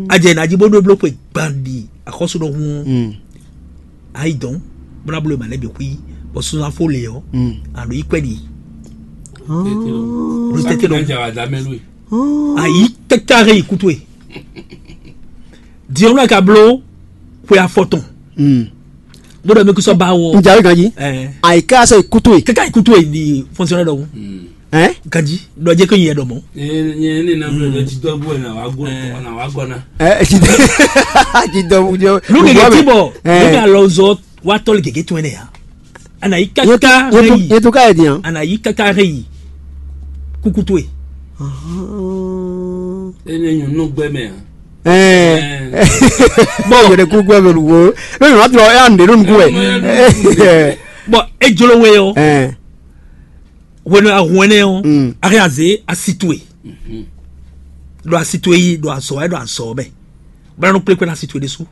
a jɛ nǎ jí bó ɖó bló xwe gban ɖi axɔ́sú ɖɔhun ɔ́ ayi dɔn bó ná bló e ma lɛ́ bǐ xwí bɔ sunzan fó le ɔ́ a ɖo yí kwɛ́ ɖi ɖo tɛ́tɛ́ ɖɔhun ayi tɛ́tɛ́ yi kútu e diɔnu aka bló xwe afɔ tɔn bó ɖɔ mi kú sɔ ba wɔ. N jàwé ganji. Ɛɛ. Àyíká sɔ ìkútó yìí. Kaka ìkútó yìí di fonctionnaire dɔwɔ. Ɛ? Ganji, ɖɔ jɛ ko nyɛ ɖɔ mɔ. Nyɛ ne na bɛ bɛ ti dɔ bu na wa go na wa gɔ na. Ɛ, ti dɔ, ti dɔ bu jɔ. Lu gege ti bɔ, lu ga lɔ zɔ wa tɔli gege tɔn ne ya. Ana yi kaka rɛ yi. Yetu ka yɛ diyan. Ana yi kaka rɛ yi. Kuku to ye. Ene nyɔnu gbɛ mɛ a. Ɛ. Bɔn yɛrɛ kuku ɛ bɛ lu wo. Lóyún wa tɔ ɛ an de lónìí kú ɛ. Bɔn e jolo we o. Ɛ. Hwenu ahun ɛnɛ ɔ́, a hɛn a zě asi towe, ɖo asi towe yi, ɖo azɔ̌ wɛ, ɖo azɔ̌ mɛ, bó ná nɔ kplé kpé ná asi towe ɖésú.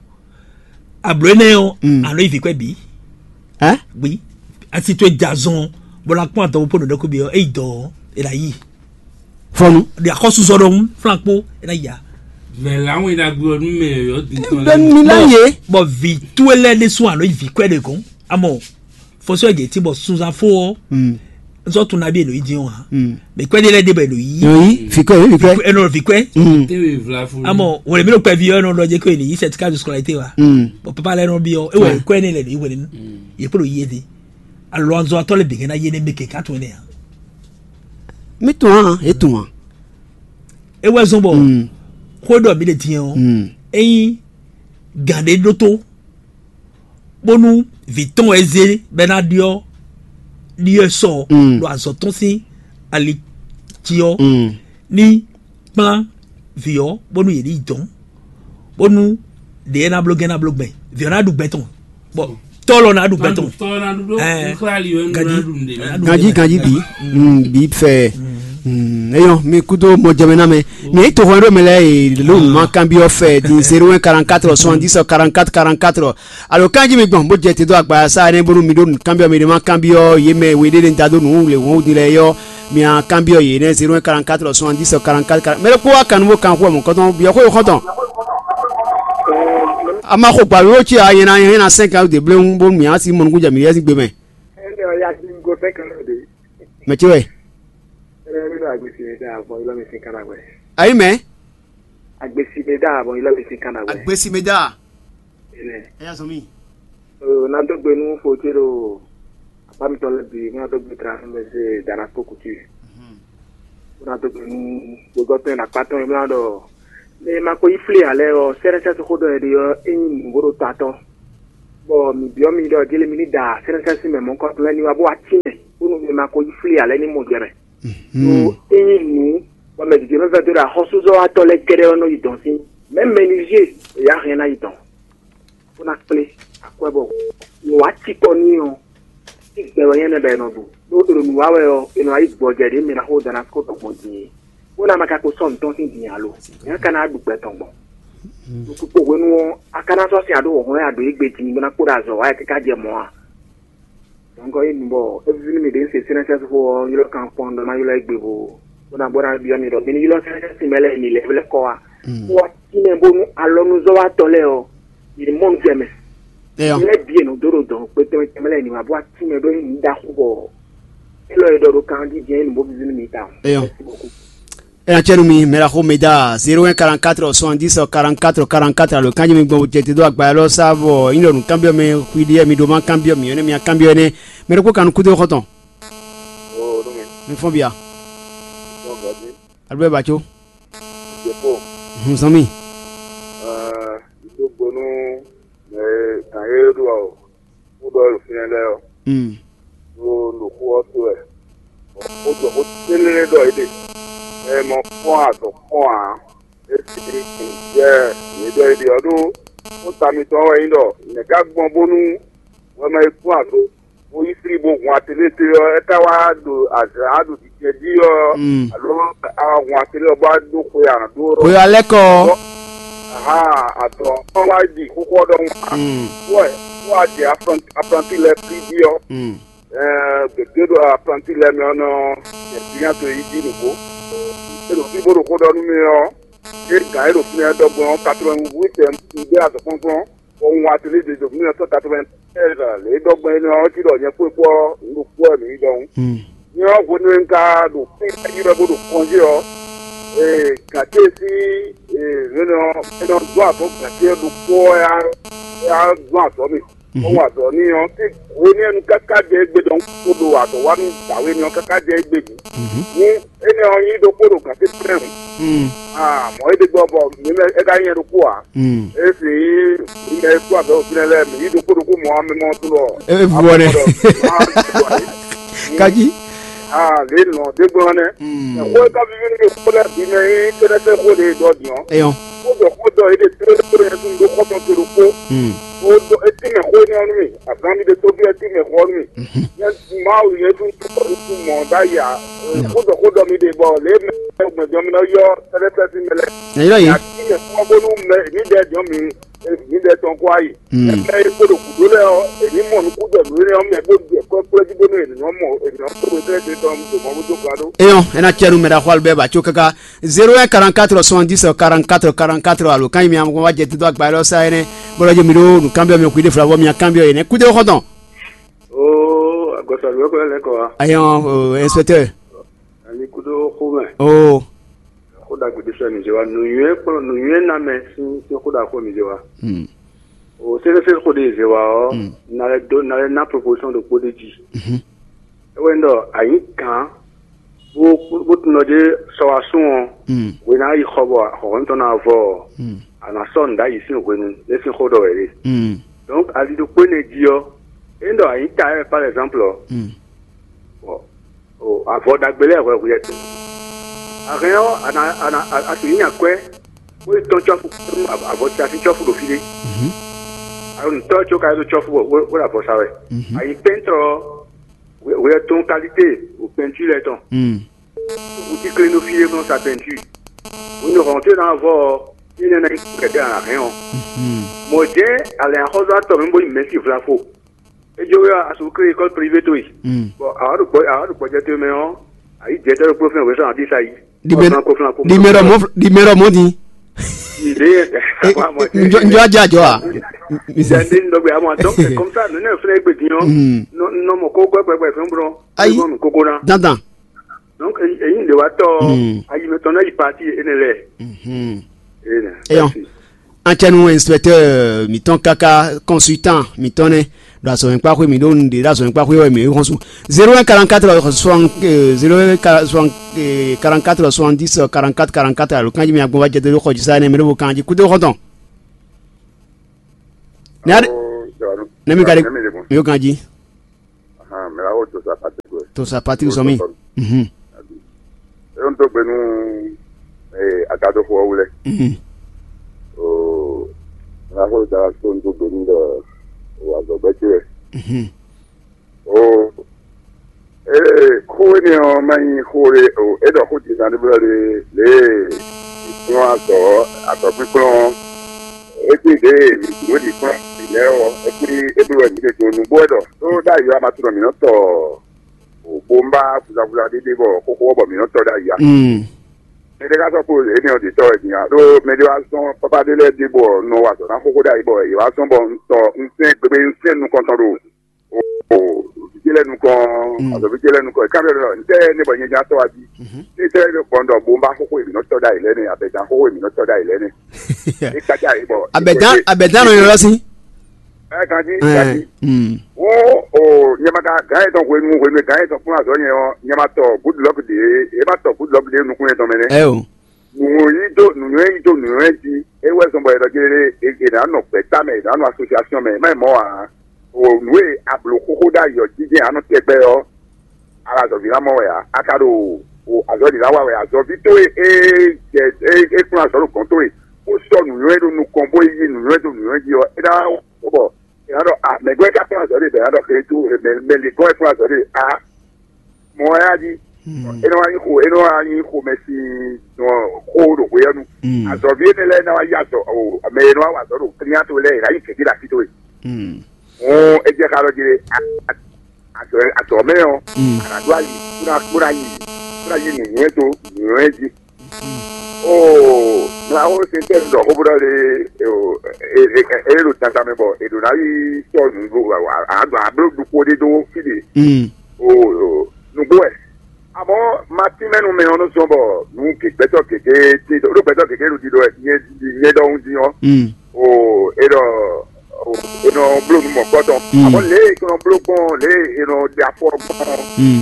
Ablǒ énɛ́ ɔ́, a nɔ yi vǐ kwɛ́ bǐ. Hɛn? Bǐ asi towe jɛ azɔn, bó ná kpɔ́n adɔgo pó nǔɖé kó bǐ ɔ́, é yi dɔ̌ ɔ́, é ná yi. Fɔnu. Ɖe axɔ́súzɔ ɖɔhun, flán kpó, é ná yi ǎ. Mɛ lǎwìn ɖagbe ɔ́ nú mɛ yɔ̌yɔ́ din tɔn Bɛ lɛ́ɛ. Mi ná ye. Bɔ vǐ towe lɛ́ɛ ɖésú a nɔ yi vǐ kwɛ́ ɖe gɔ̌n. Amɔ fɔsɔ́ gětí bɔ sunzan fó ɔ́, n sɔ́ tunwun nabí èlò yí dín ɔ́ ǎ. Mɛ kwɛ́ ɖé lɛ́ɛ ɖé bɔ èlò yí. Yòòyí, fìkọ́, yìí fìkọ́. Èlò fìkọ́. Tɛ́wé vla fún mi. Amɔ wòlé mi ɖo kpɛví ɔ́ nɔ ɖɔ jẹ́ kó èlò yí certificat de scolarité wa. Bɔ papa lɛ́ɛ nɔ byɔ́ é wɛ kwɛ́ ní lɛ lò yí hwelenu. Yě kpo ɖo yí é dé. Alɔ anzɔ atɔ́ lɛ bǐ hɛn ná yé nɛ mɛ kɛkɛ atɔn énɛ́ ǎ. Mi tún ǎ, é tún ǎ. É wɛ zɔ́n bɔ xó ɖɔ mǐ ɖe din ɔ́, ényí gǎn ɖé ɖótó bónú vǐ tɔn wɛ zé bɔ é ná ɖyɔ́ ɖyɔ́ sɔ ɖo azɔ̌ tɔn sín ali jí ɔ́, ní kplán vǐ ɔ́ bónú yě ní yi dɔ̌n, bónú ɖě é ná bló gɛ́ ná bló gbɛn, vǐ ɔ́ ná ɖu gbɛ tɔn, bɔ tɔ́ lɔ ná ɖu gbɛ tɔn. Ganji, ganji, ganji bi, bi fɛ. Eyɔn, mi kudo mɔ jɛmɛ na mɛ. Mi yi to hɔn ɖo mɛ lɛ, lo ma kan bi ɔ fɛ di zéro un quarante-quatre soixante-dix quarante-quatre quarante-quatre. Alo kanji mi gbɔn bó jɛ te dó agba sa ne bónú mi ɖó nǔkanbyɔ́ mi ɖé ma kanbyɔ́ yě mɛ we ɖé ne da dó nǔ le wɔn wudi lɛ yɔ. Mi a kanbyɔ́ yě nɛ zéro un quarante-quatre soixante-dix quarante-quatre quarante. Mɛ ɖé kpó wa kan nú bó kan xú ɔmɔ kɔtɔn byɔ́ xó xɔtɔn. A ma xo gbǎ wíwó cí a nyɛ na nyɛ na cinq ans de bléwu bónú mi a si mɔnukún jɛ mi yɛ si gbe mɛ. Ɛnɛ ɔ ya di ŋgo fɛn kan lɔ de. Mɛ ce wɛ. Ɛnɛ mi ɖo agbesi mi da bɔ ilɔ mi sin kana wɛ. Ayi mɛ. Agbesi mi da bɔ ilɔ mi sin kana wɛ. Agbesi mi da. Ɛnɛ. Ɛ ya sɔn mi. Ɔ na dó gbe nú fo ce ɖo apá mi tɔn lɛ bi mo na dó gbe tra fún mi se dana kó kutu. Mo na dó gbe nú gbogbo tɔn na kpá tɔn mo na ɖɔ. Mɛ ma ko yi flé alɛ ɔ sɛrɛsɛ to xó ɖɔ yɛ ɖe ɔ enyi nǔgbó ɖo ta tɔn. Bɔ mi biɔ mi ɖɔ jele mi ni da sɛnɛsɛn sin mɛ mɔkɔtɔn lɛ ni wa bó wa tínmɛ bónú mi ma ko yi flí alɛ ní mɔ jɛ mɛ. Ɖó ényí nǔ bɔ mɛ gěgé mɛ vɛdó ɖo axɔ́súzɔ́watɔ́ lɛ́ɛ kɛ́ɖɛ́ ɔ́ nɔ yi dɔn sín mɛ mɛnizé, èyá hɛn ná yi dɔn bó ná kplé akwɛ́ bɔ nǔ wá cikɔ n'i ɔ́, tí gbɛ wɛ nyɛ nɛ bɔ è nɔ ɖu. Ɖó è ɖo nǔ wa wɛ ɔ́, è nɔ wá yí gbɔjɛ ɖě mɛ ná xó dɔn ná kó dɔn gbɔn din é. Bó ná ma ka ko sɔ́ nǔ tɔn sín din alo? Nyɛ ka ná ɖu gbɛ tɔn gbɔn? Ɖo kpukpo hwenu ɔ́, a ka ná sɔ́ sin aɖó wɔ̌xlɔ́n ya ɖo égbé din bó ná kpó ɖo azɔ̌ wa wɛ káká jɛ mɔ̌ a? Dɔ̌nkɔ é nu bɔ é víví nú mì ɖě un se sɛ́nɛ́sɛ́n xó ɔ́, ylɔ́ kan kpɔ́n ɖɔ ná ylɔ́ égbé bó bó ná bó ná byɔ́ mi ɖɔ mi ní ylɔ́ sɛ́nɛ́sɛ́n sin mɛ lɛ́ɛ mi lɛ́ vlɛ́ kɔ wá. Bó wá tínmɛ bónú alɔnuzɔ́watɔ́ lɛ́ɛ ɔ́, yě ní mɔ nú jɛ mɛ. Eyɔ. Lɛ́ bǐ è nɔ dó ɖo dɔ̌n kpé tɛnmɛ tɛnmɛ lɛ́ɛ ní ma bó wá tínmɛ ɖó nyí ɖaxó bɔ élɔ́ e ɖɔ ɖo kan jí jɛ́n é nǔ bó víví nú mi tawun. Eyɔ. Merci beaucoup. Ena cɛ nú mi mɛ ɖaxó mɛ da zéro un quarante-quatre soixante-dix quarante-quatre quarante-quatre alo kanji mi gbɔn jɛ te dó agba élɔ́ sá vɔ nyí ɖɔ nǔ kanbyɔ́ mɛ xwi ɖi mi ɖó ma kanbyɔ́ mi ɔ́ nɛ́ mi kanbyɔ́ énɛ́ mɛ ɖokpó kan nú kúdó xɔ́ntɔn. Mi fɔ́n bia. Alo bɛ ba có. Hun zɔn mi. Dó gbe nú mɛ gǎn e ɖo ɔ kú ɖɔ ɖo fínɛ́ lɛ́ɛ ɔ́, ɖo nǔxó ɔ́ to wɛ. Xó jɔ xó télé ɖɔ é ɖe. Ɛ mɔ kpɔ́n azɔ̌ kpɔ́n ǎ. É sì yɛ yě ɖɔ é ɖe ɔ́ ɖó xó ta mitɔn wɛ nyí ɖɔ nɛ̌ ká gbɔn bónú wɛ ma yi kpɔ́n azɔ̌ bó yí flí bó hun atɛ́nɛ́ ɔ́, é ka wá ɖo azǎn ɖo jijɛ jí ɔ́, alo a hun atɛ́nɛ́ ɔ́ bó wá ɖó xwe a nǎ ɖó ɔ́. Xwe alɛ́ kɔ. Ahan, atɔ ɔ́ wá ɖi xóxó ɔ́ ɖɔhun. Wɛ wá jɛ aplanti lɛ́ɛ fí jí ɔ́. Ɛɛ gěgé ɖo aplanti lɛ́ɛ mɛ ɔ́ nɔ jɛ fínɛ́ to yi jí nǔgbó. É ɖo fí bó ɖo xó ɖɔ nú mì ɔ́, é gǎn é ɖo fínɛ́ ɖɔgbɔn ɔ́, quatre-vingt-huit ɖé azɔ̌kplɔ́nkplɔ́n. Bɔ un wá tlí ɖe ɖo mille neuf cent quatre-vingt-seize lě e ɖɔ gbɔn énɛ́ ɔ́ cí ɖɔ nyɛ kpó é kpó ɔ́, un ɖo kpó wɛ mǐ yi ɖɔhun. Nyi ɔ́ hwenu e un ka ɖo kpínkpɛ́ jí wɛ bó ɖo kɔnjí ɔ́, ee gǎnté sín ee hwenu ɔ́ é nɔ dó azɔ̌ gǎnté ɔ́ ɖokpó ɔ́ yá yá dó azɔ̌ mì. Bó wa azɔ̌ n'i ɔ́, é hwe n'i nu káká jɛ égbé ɖɔhun kpódó azɔ̌wánu dǎwe n'i ɔ́ káká jɛ égbé bǐ. Ní énɛ́ ɔ́ nyí ɖokpó ɖo gǎn tɛ́ntin mɛ hǔn, mɔ̌ é ɖe gbɔ bɔ mǐ mɛ é ka nyí nyɛ ɖokpó ǎ. É sì nyí mǐ mɛ e kú azɔ̌ ɖo fínɛ́ lɛ́ɛ, mǐ yí ɖokpó ɖokpó mɔ ɔ́, mɛ mɔ ɔ́ tlú ɔ́. É vú ɔ́ nɛ́. Kají. Aa lě nɔ ɖé gblɔ́n nɛ́. Xó e ka víví nú mì xó lɛ́ɛ bǐ mɛ nyí kɛ́ɖɛ́sɛ́ xó ɖě e ɖɔ din ɔ́. Eyɔn. Xó ɖɔ xó ɖɔ é ɖe tlóló tlóló nyɛ tún ɖó xɔ́ntɔn ce ɖokpó. Xó ɖɔ etí mɛ xó énɛ́ ɔ́ nú mì. Azǎn mi ɖe tóbí etí mɛ xó ɔ́ nú mì. Nyɛ Mawu nyɛ tún tún mɔ ɖ'ayǐ ǎ. Xó ɖɔ xó ɖɔ mi ɖe bɔ lě mɛ gbɛjɔ mi nɔ yɔ kɛ́ɖɛ́sɛ́ sín mɛ lɛ́ɛ. Nyɛ yɔ yě. Atí mɛ xó ɔ́ bónú mɛ mǐdɛɛ jɔ̌n mi mǐdɛɛ tɔn kó ayi. Mɛ e kpo ɖo gǔdo lɛ́ɛ ɔ́, è nǐ mɔ nukúnɖɔ nǔ énɛ́ ɔ́ mɛ bó ɖu ɛkɔ́ kplɔ́ jí bónú è nǐ nɔ mɔ è nǐ nɔ kpó wezɛ́ ɖe tɔn ɖo mɔ bó dó gba ɖó. Eyɔn, é ná cɛ nú mɛ ɖaxó Albert Baco káká zéro un quarante-quatre soixante-dix quarante-quatre quarante-quatre alo kan yi mi amɔgɔn wá jɛ tito agba élɔ́ sá énɛ́ bó lɔ́ jí mi ɖó nǔkanbyɔ́ mi xwíɖé flavɔ mi kanbyɔ́ yě nɛ́ kúdé xɔ́ntɔn. Oo, agbɔsɔlú wɛ kɔ lɛ kɔ wa. Ayɔn, inspecteur. Ani kúdó xó mɛ. Oo. Xó ɖagbe ɖé sɔ́ mi zé wa nǔnywɛ́ kplɔ́n nǔnywɛ́ ná mɛ sín sín xó ɖaxó mi zé wa. O sɛ́sɛ́sɛ́ xó ɖé zé wa ɔ́, na lɛ́ dó na lɛ́ ná proposition ɖokpó ɖé jí. É wɛ ɖɔ anyǐ kan bó bó tunɔ ɖé sɔ wá sún ɔ́, hwe ná yi xɔ bɔ xɔxɔnu tɔn ná vɔ ɔ́, a nǎ sɔ́ nǔ ɖ'ayǐ sín hwenu é sín xó ɖɔ wɛ ɖe. Donc ali ɖokpó énɛ́ jí ɔ́, é ɖɔ anyǐ ta wɛ par exemple ɔ́, bɔ o avɔ ɖagbe lɛ́ɛ hwɛ hwɛ tɔn. A hɛn ɔ́, a nǎ a nǎ a sixú nyi akwɛ́ bó yi tɔ́n cɔ́fu avɔ sín cɔ́fu ɖo fí ɖé. Alɔ nǔtɔ́ có ka yi ɖo cɔ́fu bɔ wó ɖo avɔ sa wɛ. A yi pɛ́ntrɔ ɔ́, hwɛ tɔn kalité o pɛntú lɛ́ɛ tɔn. Wú tíklé nú fí e nɔ sa pɛntú. Hwenu e hɔn tó ná vɔ ɔ́, énɛ́ ná nyí kɛkɛ́ a nǎ hɛn ɔ́. Mɔ̌ jɛ́n alɛ̌nxɔ́zɔ́tɔ́ mɛ bó nyí mɛ̌si vlafo. É jó wɛ a su klé école privée towe. Bɔ a wá ɖo gbɔ a wá ɖo gbɔjɛ towe mɛ ɔ́, a yǐ jɛ tɛ́ ɖokpó fɛn wěsɔn abí sa yi. Dimɛ ɖɔ mɔ dimɛ ɖɔ mɔ din. Ìdè njɔ njɔ ajá jɔ a. Ìdè ndé ndɔgbe àmọ́ donc c'est comme ça nínú ẹ̀ fúnra ẹgbẹ́ dín ọ́ nọ mọ̀ kó gbẹ́gbẹ́gbẹ́ fún bọ́n. Ayi dandan. Donc èyí ń lè wá tọ́ ayimẹtọ́ náà yí pati énɛ́ lẹ̀. Eyɔn. An cɛ nu inspecteur mǐtɔn káká consultant mǐtɔn nɛ́ ɖo azɔ̌mɛkpáxwé mǐ ɖó nu ɖě ɖo azɔ̌mɛkpáxwé wɛ mǐ ɖo xɔ́n su. Zéro un quarante-quatre soixante zéro un quarante-quatre soixante-dix quarante-quatre quarante-quatre alo kanjí mi agbɔn wá jɛ dó xɔ jí sa énɛ́ mɛ ɖó bo kanjí kúdó xɔ́ntɔn. Nɛmi ka ɖe mi yó kanjí. Mɛ la wo to sa Patrick wɛ. To sa Patrick sɔmi. Mhm. E n to gbe nu agadofo ɔwu lɛ. Mhm. O mɛ la wo da to n to gbe nu dɔ o azɔgbɛ ce wɛ. Mhm. O ee xó énɛ́ ɔ́ má nyí xó ɖé o é ɖɔ xó dǐndán ɖé blɔ́ ɖé lě e kplɔ́n azɔ̌ azɔ̌kpíkplɔ́n ɔ́. Égbé ɖě e mǐ ɖǒ ɖi kpɔ́n mǐ lɛ́ɛ ɔ́, é kplí é bló wɛ mǐ ɖe do nǔgbó wɛ ɖɔ ɖó ɖ'ayǐ ɔ́, a ma tunɔ mǐ nɔ tɔ bó ń bá vuzavuza ɖé ɖe bɔ xóxó ɔ́ bɔ mǐ nɔ tɔ ɖ'ayǐ ǎ. Mɛ ɖé ka sɔ́ kpo énɛ́ ɔ́ ɖě tɔ wɛ din ǎ, ɖó mɛ ɖé wá zɔ́n pápá ɖé lɛ́ɛ ɖe bɔ un nɔ wa azɔ̌ ná xóxó ɖ'ayǐ bɔ yě wá zɔ́n bɔ un tɔ un sɛ́n gbégbé un sɛ́n nukɔntɔn ɖo o vǐ ce lɛ́ɛ nukɔn, azɔ̌ví ce lɛ́ɛ nukɔn, è ká ɖɔ ntɛ́ ní bɔ nyɛ ján tɔ́ wá jí. Ní tɛ́ é gbɔn ɖɔ bó ń bá xóxó e mǐ nɔ tɔ́ ɖ'ayǐ lɛ́ɛ nɛ́, abɛ̌dán xóxó e mǐ nɔ tɔ́ ɖ'ayǐ lɛ́ɛ nɛ́. É kájá yě bɔ abɛ̌dán abɛ̌dán nɔ ylɔ́ sín. Ɛ ganjí ganjí. Wó o nyɛ ma ka gǎn yětɔn hwenu hwenu e gǎn yětɔn kplɔ́n azɔ̌ nyɛ ɔ́, nyɛ ma tɔ gúdlɔ́k ɖě é ma tɔ gúdlɔ́k ɖě nukún yětɔn mɛ nɛ́. Ɛ o. Nǔnywɛ́ yí dó nǔnywɛ́ yí dó nǔnywɛ́ jí. É wɛ zɔn bɔ è nɔ jlé è nǎ nɔ gbɛ̌ta mɛ, è nǎ nɔ asosiasyon mɛ, má nyí mɔ̌ ǎ. O nǔ e a blǒ xóxó ɖ'ayǐ ɔ́ jínjɛ́n a nɔ tɛgbɛ ɔ́, a ɖo azɔ̌ví ná mɔ wɛ ǎ. A ka ɖo azɔ̌ ɖě ná wa wɛ azɔ̌ví towe e jɛ e kplɔ́n azɔ̌ ɖo gɔ̌n towe, bó sɔ́ nǔnywɛ́ ɖo nukɔn bó yí nǔnywɛ́ dó nǔnywɛ́ jí ɔ́, é ná wɔ bɔ è nǎ ɖɔ a mɛ̌ gbɛ́ ka kplɔ́n azɔ̌ ɖe bɔ è nǎ ɖɔ xlɛ́ dó mɛ lě gɔ́n wɛ kplɔ́n azɔ̌ ɖe a mɔ wɛ á jí. É nɔ wá nyí xo é nɔ wá nyí xomɛ sín xó ɖo hweyɛ́nu. Azɔ̌ví énɛ́ lɛ́ɛ ná wá yí azɔ̌ o mɛ e nɔ wá wa azɔ̌ ɖo klínyá towe lɛ́ɛ è nǎ yi gěgé ɖo así towe. Hɔn é jɛ xá ɖɔ jí azɔ̌ mɛ ɔ́ a nǎ ɖó ayi bó ná bó ná yi bó ná yi nǔnywɛ́ dó nǔnywɛ́ jí. Oo mla wo se tɛ ɖɔ xó bó ɖɔ le e ɖo tata mɛ bɔ e ɖo ná yi tɔ nǔgbó aɖɔ abló ɖokpó ɖé ɖó fí ɖe. Oo nǔgbó wɛ amɔ ma tínmɛnu mɛ ɔ́ nɔ zɔn bɔ nǔ gbɛtɔ gěgé tí ɖo gbɛtɔ gěgé ɖo ɖiɖɔ nyɛ nyɛ ɖɔhun dín ɔ́. Oo e ɖɔ è nɔ bló nú mɔ̌kpɔ́ tɔn. Àmọ́ lě e è nɔ bló gbɔn, lě e è nɔ ɖe afɔ gbɔn,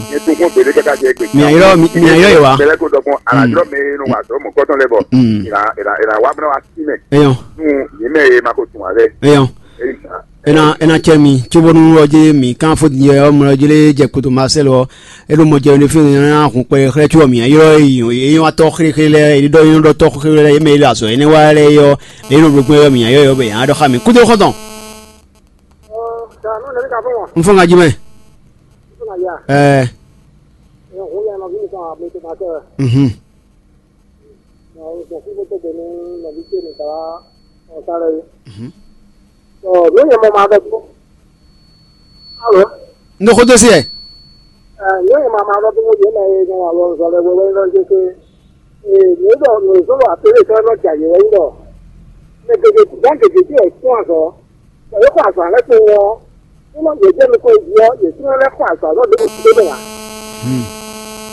nyɛ tó gbɔn gběɖé káká jɛ gbè. Mǐ ayɔ́, mǐ, mǐ ayɔ́ yě wá. Bɛlɛ kó dɔgbɔn alajɔ mɛ e nɔ wa azɔ̌ mɔ̌kpɔ́ tɔn lɛ́ɛ bɔ è nǎ, è nǎ, è nǎ wá bó ná wá sí mɛ. Eyɔn. Nú yě mɛ e ma ko tunwun ǎ lɛ́ɛ. Eyɔn. Ena ena cɛ mi tso bónú ɔ́ jɛ mi kan fó din ɔ́ mlɔ jɛ lé jɛ koto Marcel ɔ́. E ɖo mɔ jɛ ne fi na hun kpɛ xlɛ tso mi ayɔ e yi e yɔ atɔ xlexle lɛ e ɖɔ yɔ ɖɔ tɔ xlexle lɛ e mɛ e le azɔ ene wa lɛ yɔ e nɔ bló gbɛ yɔ mi ayɔ yɔ bɛ yan ɖɔ xa mi kudo xɔtɔn. N fɔ ŋa ji mɛ. Ɛɛ. Mhm. Alo. N ɖo xó dó sí ɛ. Ɛ, yě e ma ma ɖɔ dó yě mɛ e nɔ wa lɔ zɔ lɛ wɛ wɛ lɔ jɛ ke. Ee, yě ɖɔ nǔzɔ́ wa pélé sɔ́ nɔ ja yě wɛ nyí ɖɔ mɛ gěgé gán gěgé tí wɛ kún azɔ. Bɔ yě xɔ azɔ alɛ kpowun ɔ́, nínú yě jẹ́ nukɔn jí ɔ́, yě tún lɛ́ xɔ azɔ alɔ ɖěbǔ sí ɖé mɛ ǎ.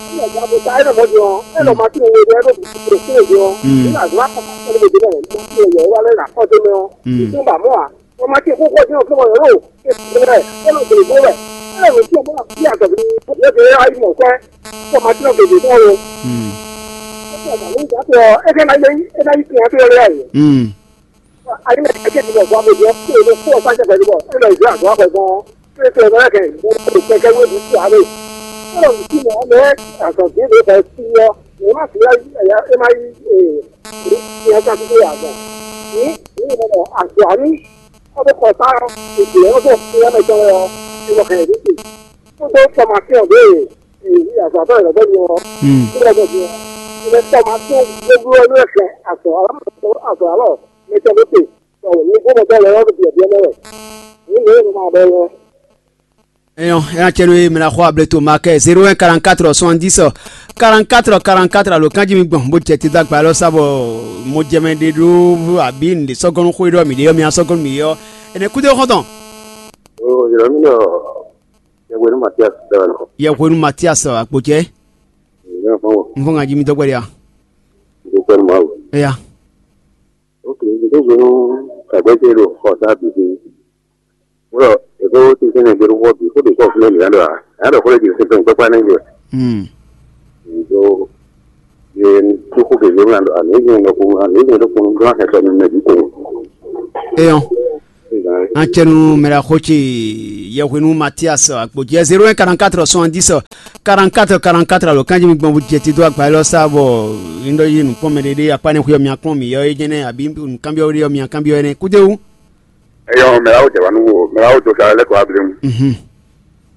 Ní ọ̀gá bó ta é nɔ mɔ̌ din ɔ́, é nɔ ma tín we ɖé ɖó bó sí é din ɔ́, ní azɔ wa kɔ ká sɔ́ ɖé bó dé mɛ, ní ma tín we yɛ é wá lɛ́ nà kɔ dó mɛ ɔ́, yě tún ba mɔ̌ ǎ. Wọ́n máa ti kókó dín ọ̀kẹ́ wọ̀nyí rò, é ti rẹ̀, é lọ gbèrè bó rẹ̀, é lè wọ́n tí ọmọ náà bí àgbà bí wọ́n ti rẹ̀ ayé mọ̀ kọ́, kó máa tí ọ̀kẹ́ dé bọ́ọ̀lù. Ó ti ọ̀gá ló ń gbà pé ọ, é fẹ́ máa yẹ yín, é máa yí tiẹ̀ tó rẹ̀ ayé. Ayé náà kẹ́kẹ́ ti bọ̀ fún abẹ́jọ́, kó o lè kó ọ̀sán jẹ pẹ̀lú bọ̀, é lọ ìdí àgọ́ àpẹ̀gbọ́n, pé pé ọ̀gá kẹ̀, kẹ̀kẹ́ wé bu sí àárẹ̀. Ó lọ sí mọ̀ ọ́n mẹ́ àgbọ̀n bí èdè bẹ̀ sí yọ, èyí má fi é má yí ìyẹn ká tó yà gbọ̀n. Ní ìlú ìmọ̀ àgbà ní Kɔ́ bó xɔ sá ɔ́, è jlɛ̌ ɔ́ bɔ xwé ɔ́ mɛ tɔn wɛ ɔ́, è nɔ hɛn yě ɖésè. Kódó fɔmatíɔn ɖě e è yí azɔ̌ atɔ́ lɛ̌ bɔ nyɔ ɔ́, kódó bɔ nyɔ ɔ́, è nɔ fɔmatíɔn gbégbé ɔ́ nú ɛ hɛn azɔ̌ alɔ azɔ̌ alɔ mɛ tɔn ɖésè, bɔ nyǐgbó mɛ tɔn lɛ́ɛ ɔ́ ɖo byɔ̌byɔ́ mɛ wɛ. Nyǐ lě e è nɔ ma ɖɔ é wɛ. Eyɔn, ena cɛ ɖo e mɛ na xɔ able to ma kɛ zéro un quarante-quatre soixante-dix quarante-quatre quarante-quatre alo kanji mi gbɔn bó jɛ te dó agba lɔ sa bɔ mo jɛ mɛ ɖe ɖó abi nǔɖé sɔgɔnu xwe ɖɔ mi ɖe yɔ mi asɔgɔnu mi yɔ. Ene kudo xɔntɔn. O yɔrɔ mi nɔ yɛwenu Matias dɔ nɔ. Yɛwenu Matias akpo jɛ. N fɔ ŋa ji mi dɔgbɛ ya. N fɔ ŋa ji mi dɔgbɛ ya. Eya. Ok, n tó gbé nú sàgbéjé ɖo xɔ sá bǐ gbé. Wúlɔ èkó tíntín ní gbé ɖó xó bǐ xó bǐ kɔ fúnɛ mǐ ná ɖo ǎ. Ná ɖo xó lɛ́ bǐ sɛn kpɛ́kpá nɛ́ gbé. Ɖó yé kúkú gěgé ŋlá ɖo àmì égbé ɖo kunu ɖó axɛ sɔ mi mɛ bǐ ko. Eyɔn. Acɛnu mɛɖaxó ce yɛhwenu Matias akpo jɛ zéro un quarante-quatre soixante-dix quarante-quatre quarante-quatre alo kanji mi gbɔn bó jɛ ti dó agba élɔ́ sá bɔ un ɖɔ yi nukpɔn mɛ ɖé ɖé akpa ne xuyɔ mi akplɔn mi yɔ é jɛnɛ abi nukánbyɔ ɖé yɔ mi akánbyɔ ɛnɛ kúdéwu. Eyɔ mɛ awo jɛ wa nu wo mɛ awo do sa lɛ kɔ abli mu. Mhm.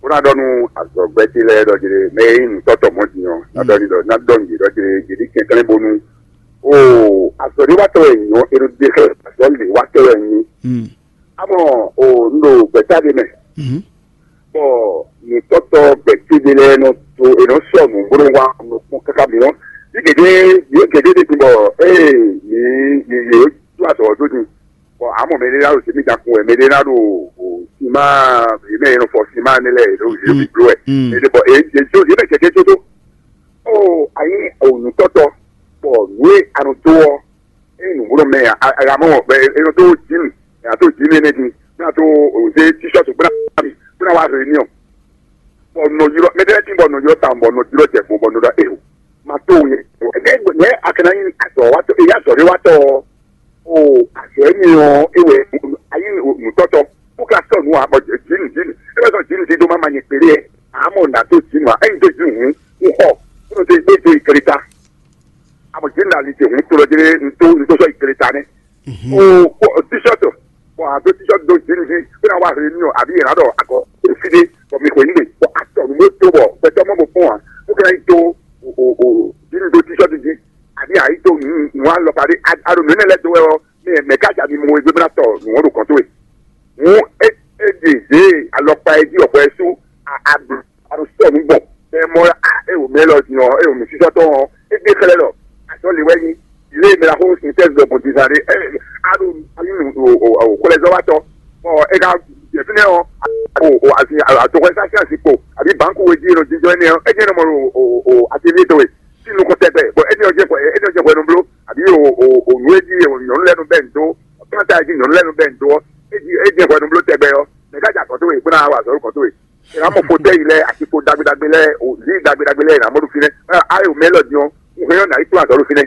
Ko na ɖɔ nu azɔgbɛ ti lɛ ɖɔ jere mɛ yi nu tɔtɔ mɔ ti nyɔ na ɖɔ ni ɖɔ na ɖɔ ni ɖɔ jere jere kɛkɛlɛ bonu. O azɔ ni wa tɔ wɛ nyɔ ero de xɛ azɔ le wa tɔ wɛ nyi. Mm. Amɔ o n ɖo gbɛta de mɛ. Mhm. Bɔ nutɔtɔ gbɛtɛ́ ɖé lɛ́ɛ nɔ dó è nɔ sɔ nǔ bó nɔ wá nɔ kpɔ́n káká mi nɔ. Yě gěgé yě gěgé ɖe din bɔ ée yě yě yě ɖó azɔ̌ ɔ́ dó din. Bɔ amɔ mɛ ɖé ná ɖo zěmí da kun wɛ, mɛ ɖé ná ɖo sima yě mɛ e nɔ fɔ sima nɛ lɛ́ɛ yě ɖo yě ɖo biblo wɛ. Mɛ ɖé bɔ yě yě jó yě mɛ kɛkɛ jó dó. Ó ayi nǔtɔtɔ bɔ nǔ e a nɔ dó ɔ́, ényí nǔgbó nɔ mɛ ǎ, a mɔ bɔ è nɔ dó jǐnu, è nɔ dó jǐnu énɛ́ din, bó ná dó zé tíṣɔ́tù bó ná mi, bó ná wá réunion. Bɔ nɔ ylɔ́ mɛ ɖé lɛ́ɛ tín bɔ nɔ ylɔ́ tawun bɔ nɔ ylɔ́ jɛ fun bɔ nɔ ɖɔ ého, ma tó wu nyɛ. Nɛ̌ a ka ná nyí azɔ̌watɔ́, èyí azɔ̌ɖéwatɔ́ ɔ́? O azɔ̌ énɛ́ ɔ́, é wɛ a nyí nǔtɔ́tɔ́, bó ka sɔ́ nǔ ǎ, bɔ jǐnu jǐnu, é wɛ sɔ́ jǐnu dídó má ma nyɛ kpéɖé ǎ, ǎ mɔ nǎ dó jǐnu ǎ, ényí dó jǐnu hǔn, un xɔ, bó nɔ dó dó yi gleta. Amɔ jǐ nɔ ali ce hun to lɔ jɛ n to n to sɔ yi kele ta nɛ. O kpɔ t-shirt bɔ a do t-shirt do jǐ nìyí bó na wá réunion àbí yẹn adɔ akɔ efi de bɔ mi xɔ yín de bɔ atɔ nu bó to bɔ gbɛtɔ mɔ bó fún wa bó kɛra yi to o o o jǐ nu do t-shirt jí àbí a yi to nu nu alɔ parí a do nu ne lɛ do wɛ ɔ mɛ mɛ ká jà mi mɔ egbe bó na tɔ nu wọn do kɔn to wɛ. Hǔn é é ɖe zě alɔkpa e jí ɔ̀xɔ ɛ sú a a ɖu a ɖo sɔ nǔ gbɔn bɔ é mɔ a é wǒ mɛ lɔ din ɔ́ é wǒ mɛ sísɔ́ tɔn ɔ́ é gbé xlɛ́ ɖɔ azɔ̌ lě wɛ nyí lě e mɛ ɖaxó sin tɛ́ zɔ gbɔn dizan ɖé é a ɖo a nyí nǔ o o o xwlɛzɔ́watɔ́ bɔ é ka jɛ fínɛ́ ɔ́ o o asi atoxɔ́sásí asi kpo àbí bǎnku e jí e nɔ jínjɔ́n énɛ́ ɔ́ é jẹ́ nɔ mɔ ɖo o o atelier tɔn e sí nukɔn tɛgbɛ bɔ énɛ́ ɔ́ jɛ hwɛ énɛ́ ɔ́ jɛ hwɛ nɔ bló àbí o o o nǔ e jí nyɔ̌nu lɛ́ɛ nɔ bɛ́ nǔ dó planta e jí nyɔ̌nu lɛ́ɛ nɔ bɛ́ nǔ dó ɔ́ é jí é jɛ hwɛ O lǐ ɖagbe ɖagbe lɛ́ɛ è nǎ mɔ ɖo fínɛ́. Ayé o mɛ élɔ́ din ɔ́, un hɛn ɔ́ nǎ yi kplɔ́n azɔ̌ ɖo fínɛ́.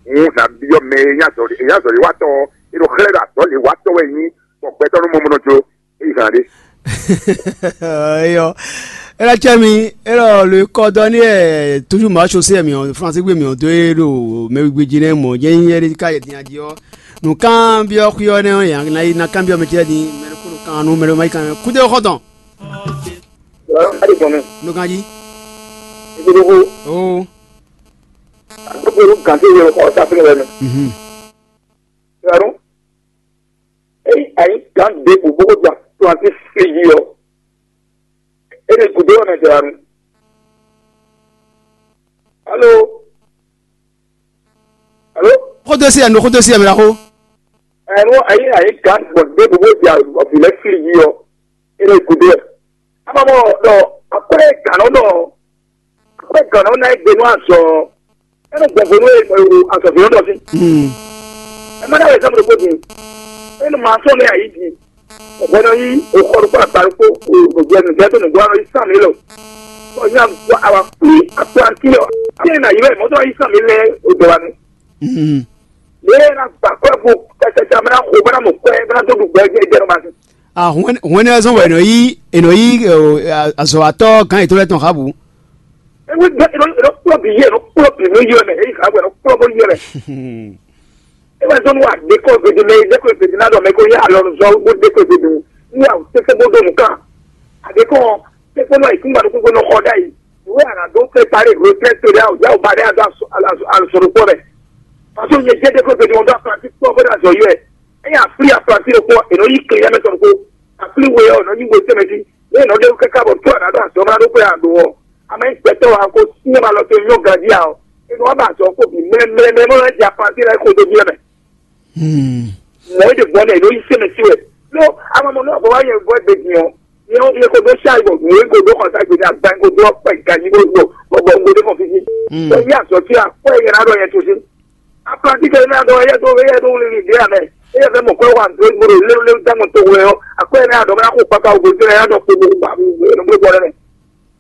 Un nǎ byɔ́ mɛ e nyí azɔ̌ e nyí azɔ̌ e wá tɔn ɔ́, è ɖo xlɛ́ ɖɔ azɔ̌ lě wá tɔn wɛ nyí, bɔ gbɛtɔ́ nú mɔ mɔ nɔ jló. É yi hǎn ɖé. Eyɔ. Ela cɛ mi, elɔ le kɔdɔ ni ɛ toujours ma chaussé mi on français gbe mi on doé ɖo mɛ gbe ji nɛ mɔ jɛ nyɛ ɖe ka yɛ din aji ɔ. Nu kan bi ɔ xuyɔ nɛ ɔ ya na yi na kan bi ɔ mɛ cɛ din mɛ ko kan nu mɛ ma yi kan kude xɔtɔn. Adi gbɔn mi. Nu kan ji. Ibi dogo. Oh. Agbógbó ló gàn sí ìwé ọkọ ọ̀sá fún ìwé mi. Mhm. Ìwé ọdún. Èyí àyí gàn dé bò bókó gba twenty three yìí ọ. Èyí kò dé ọ̀nà ìjọba mi. Alo. Alo. Xɔdo si ɛ nu xɔdo si ɛ mi la xo. Ẹ̀rọ ayé ayé gàn gbọ̀n dé bò bó di ọ̀bìlẹ̀ fìlì yìí ọ. Èyí kò dé ẹ̀. Àmọ́ mọ́ lọ akọ́lẹ̀ gàn náà lọ. Akọ́lẹ̀ gàn náà náà gbẹ̀nú àzọ. Ẹnu gbọ̀ngbọ̀n ló yẹ azɔ fi lọ́dọ̀ sí. Hmm. Ẹ má dáwọ̀ ẹ̀sán mi kó di. Ẹnu màá sọ ní àyè di. Ọ̀gbọ́n náà yí òkọ́ ló kọ́ àgbà ló kó ògbó ẹnu jẹ́ tó nìgbọ́ àwọn yìí sàn mí lọ. Ọ̀yìn àgbà àwà kúlí àpò àti lọ. Kí ni nàyí bẹ́ẹ̀ mọ́tò yìí sàn mí lẹ́ òdò wa ni. Hmm. Lé na gbà kọ́ ẹ̀ kó kẹ́kẹ́ tí a mẹ́ta kó bá mọ̀ kọ́ ẹ̀ bá tó dùn gbọ́ ẹ̀ jẹ́ ìjẹ́rọ máa sìn. Ah, hwɛn hwɛn ne zɔn wɛ nɔ yi enɔ yi azɔ atɔ gan yi to lɛ tɔn ha bu. Ewe gbẹ eno eno kplɔ bi yɛ eno kplɔ bi no yɛ mɛ eyi ha gbẹ eno kplɔ bo yɛ mɛ. Ewa zɔn wa de ko gbede mɛ de ko gbede na dɔ mɛ ko yɛ alɔ zɔ bo de ko gbede mu ni awu tete bo do nu kan. Ade ko tete nɔ yi kungba do kungba nɔ xɔ da yi. Ìwé àrà dó préparé retraite tó dé àwùjá ò bá dé àdó àsọ̀rọ̀pọ̀ rẹ̀. Pàṣẹ òye jẹ́ dé ko gbede wọn dó àpàtì pọ̀ bó dà zọ yọ ẹ̀. Ẹ̀yà àpìlì àpàtì ló pọ̀ ènà yí kiri yá mẹ́tọ̀ kó. Àpìlì wo yẹ ọ̀nà yí wo tẹ́mẹ́tì. Ní ìnáwó kẹ́kẹ́ bọ̀ tó àná dó àsọ̀rọ̀ máa dó pé àdó wọ̀. Àmọ́ ìgbẹ́tọ̀ wa kó sí ẹ̀ máa lọ tó yọ gàdí à ọ́. Inú wa bá sọ kó bí mẹ́lẹ́mẹ́lẹ́ mọ́ ẹ̀ jẹ́ apáti rẹ̀ kó tó bí ẹ̀mẹ́. Mọ̀ ẹ́ dẹ̀ bọ́ náà ló yí sẹ́mẹ̀ sí wẹ̀. Ló àmọ́ mọ̀ náà bọ̀ wá yẹn bọ́ ẹgbẹ́ jìn ọ́. Yẹn kó dó ṣáà ìbọ̀ wọ́n kó dó kọ̀ọ̀tà gbé ní àgbá kó dó ọ̀pẹ̀ ìkànnì kó dó bọ̀ kó dé kàn fi sí. Wọ́n yí àsọ tí a kọ́ ẹ̀yẹ náà lọ yẹn tó sí. Apáti kẹ́lẹ́ náà dọ̀ ẹ̀yẹ tó ẹ̀yẹ tó lè rìn dé àná. Ẹ̀yẹ fẹ́ mọ̀ kọ́ wà ní ìgboro léwléwé dámọ̀ tó wẹ̀ ọ́. Àkọ́ ẹ̀yẹ náà dọ̀ mọ́ kó pápá ògbó tó ẹ̀yẹ náà dọ̀ kó gbogbo àbí ìgbó ẹ̀ ló gbọ́ rẹ̀.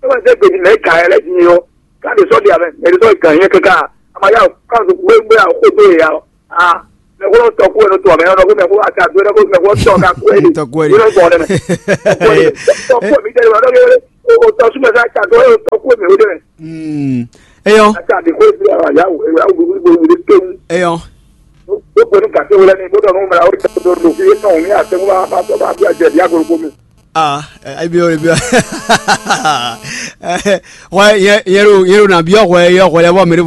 Ẹ wá sẹ́ gbèdì mẹ́ kà ẹ lẹ́jì yọ. Káàdì sọ́ọ̀dì àmẹ́ ẹ̀dì sọ́ọ̀dì kàn yín kíkà. Àmàyà káàdì gbégbé àkókò tó yẹ ya. Ah, mẹ́kúrò tọ́kú ẹ̀rọ tó àmẹ́ ẹ̀rọ mẹ́kúrò àti àdúrà kó mẹ́kúrò tọ́ ká kú ẹ̀dì. Tọ́kú ẹ̀dì. Ìrọ̀ ìbọn ọ̀dẹ́mẹ́. Tọ́kú ẹ̀mí tẹ́lẹ̀ wà lọ́dọ̀ yẹn. O tọ́sú mẹ́ta kàdó ẹ̀rọ tọ́kú ẹ̀mí ó dẹ́mẹ́. Eyɔ. Àti àdìgbò ìdílé àwọn àyàwó ẹ̀rọ àwọn gbogbo ìgbòho kéwù. Eyɔ. Ó pẹ̀lú kàtó wọlé ní ìgbọ́dọ̀ ọ̀run mẹ́ra ó tẹ̀ tó lò fi yé náà ní àtẹ̀wọ́n bá bá tọ́ bá bí àjẹ̀dí àgọ́rùkọ́ mi. Ah, ebi o ebi o. Why yẹn yẹn ro yẹn ro na bi ọkọ yẹ ọkọ yẹ bọ mi de bo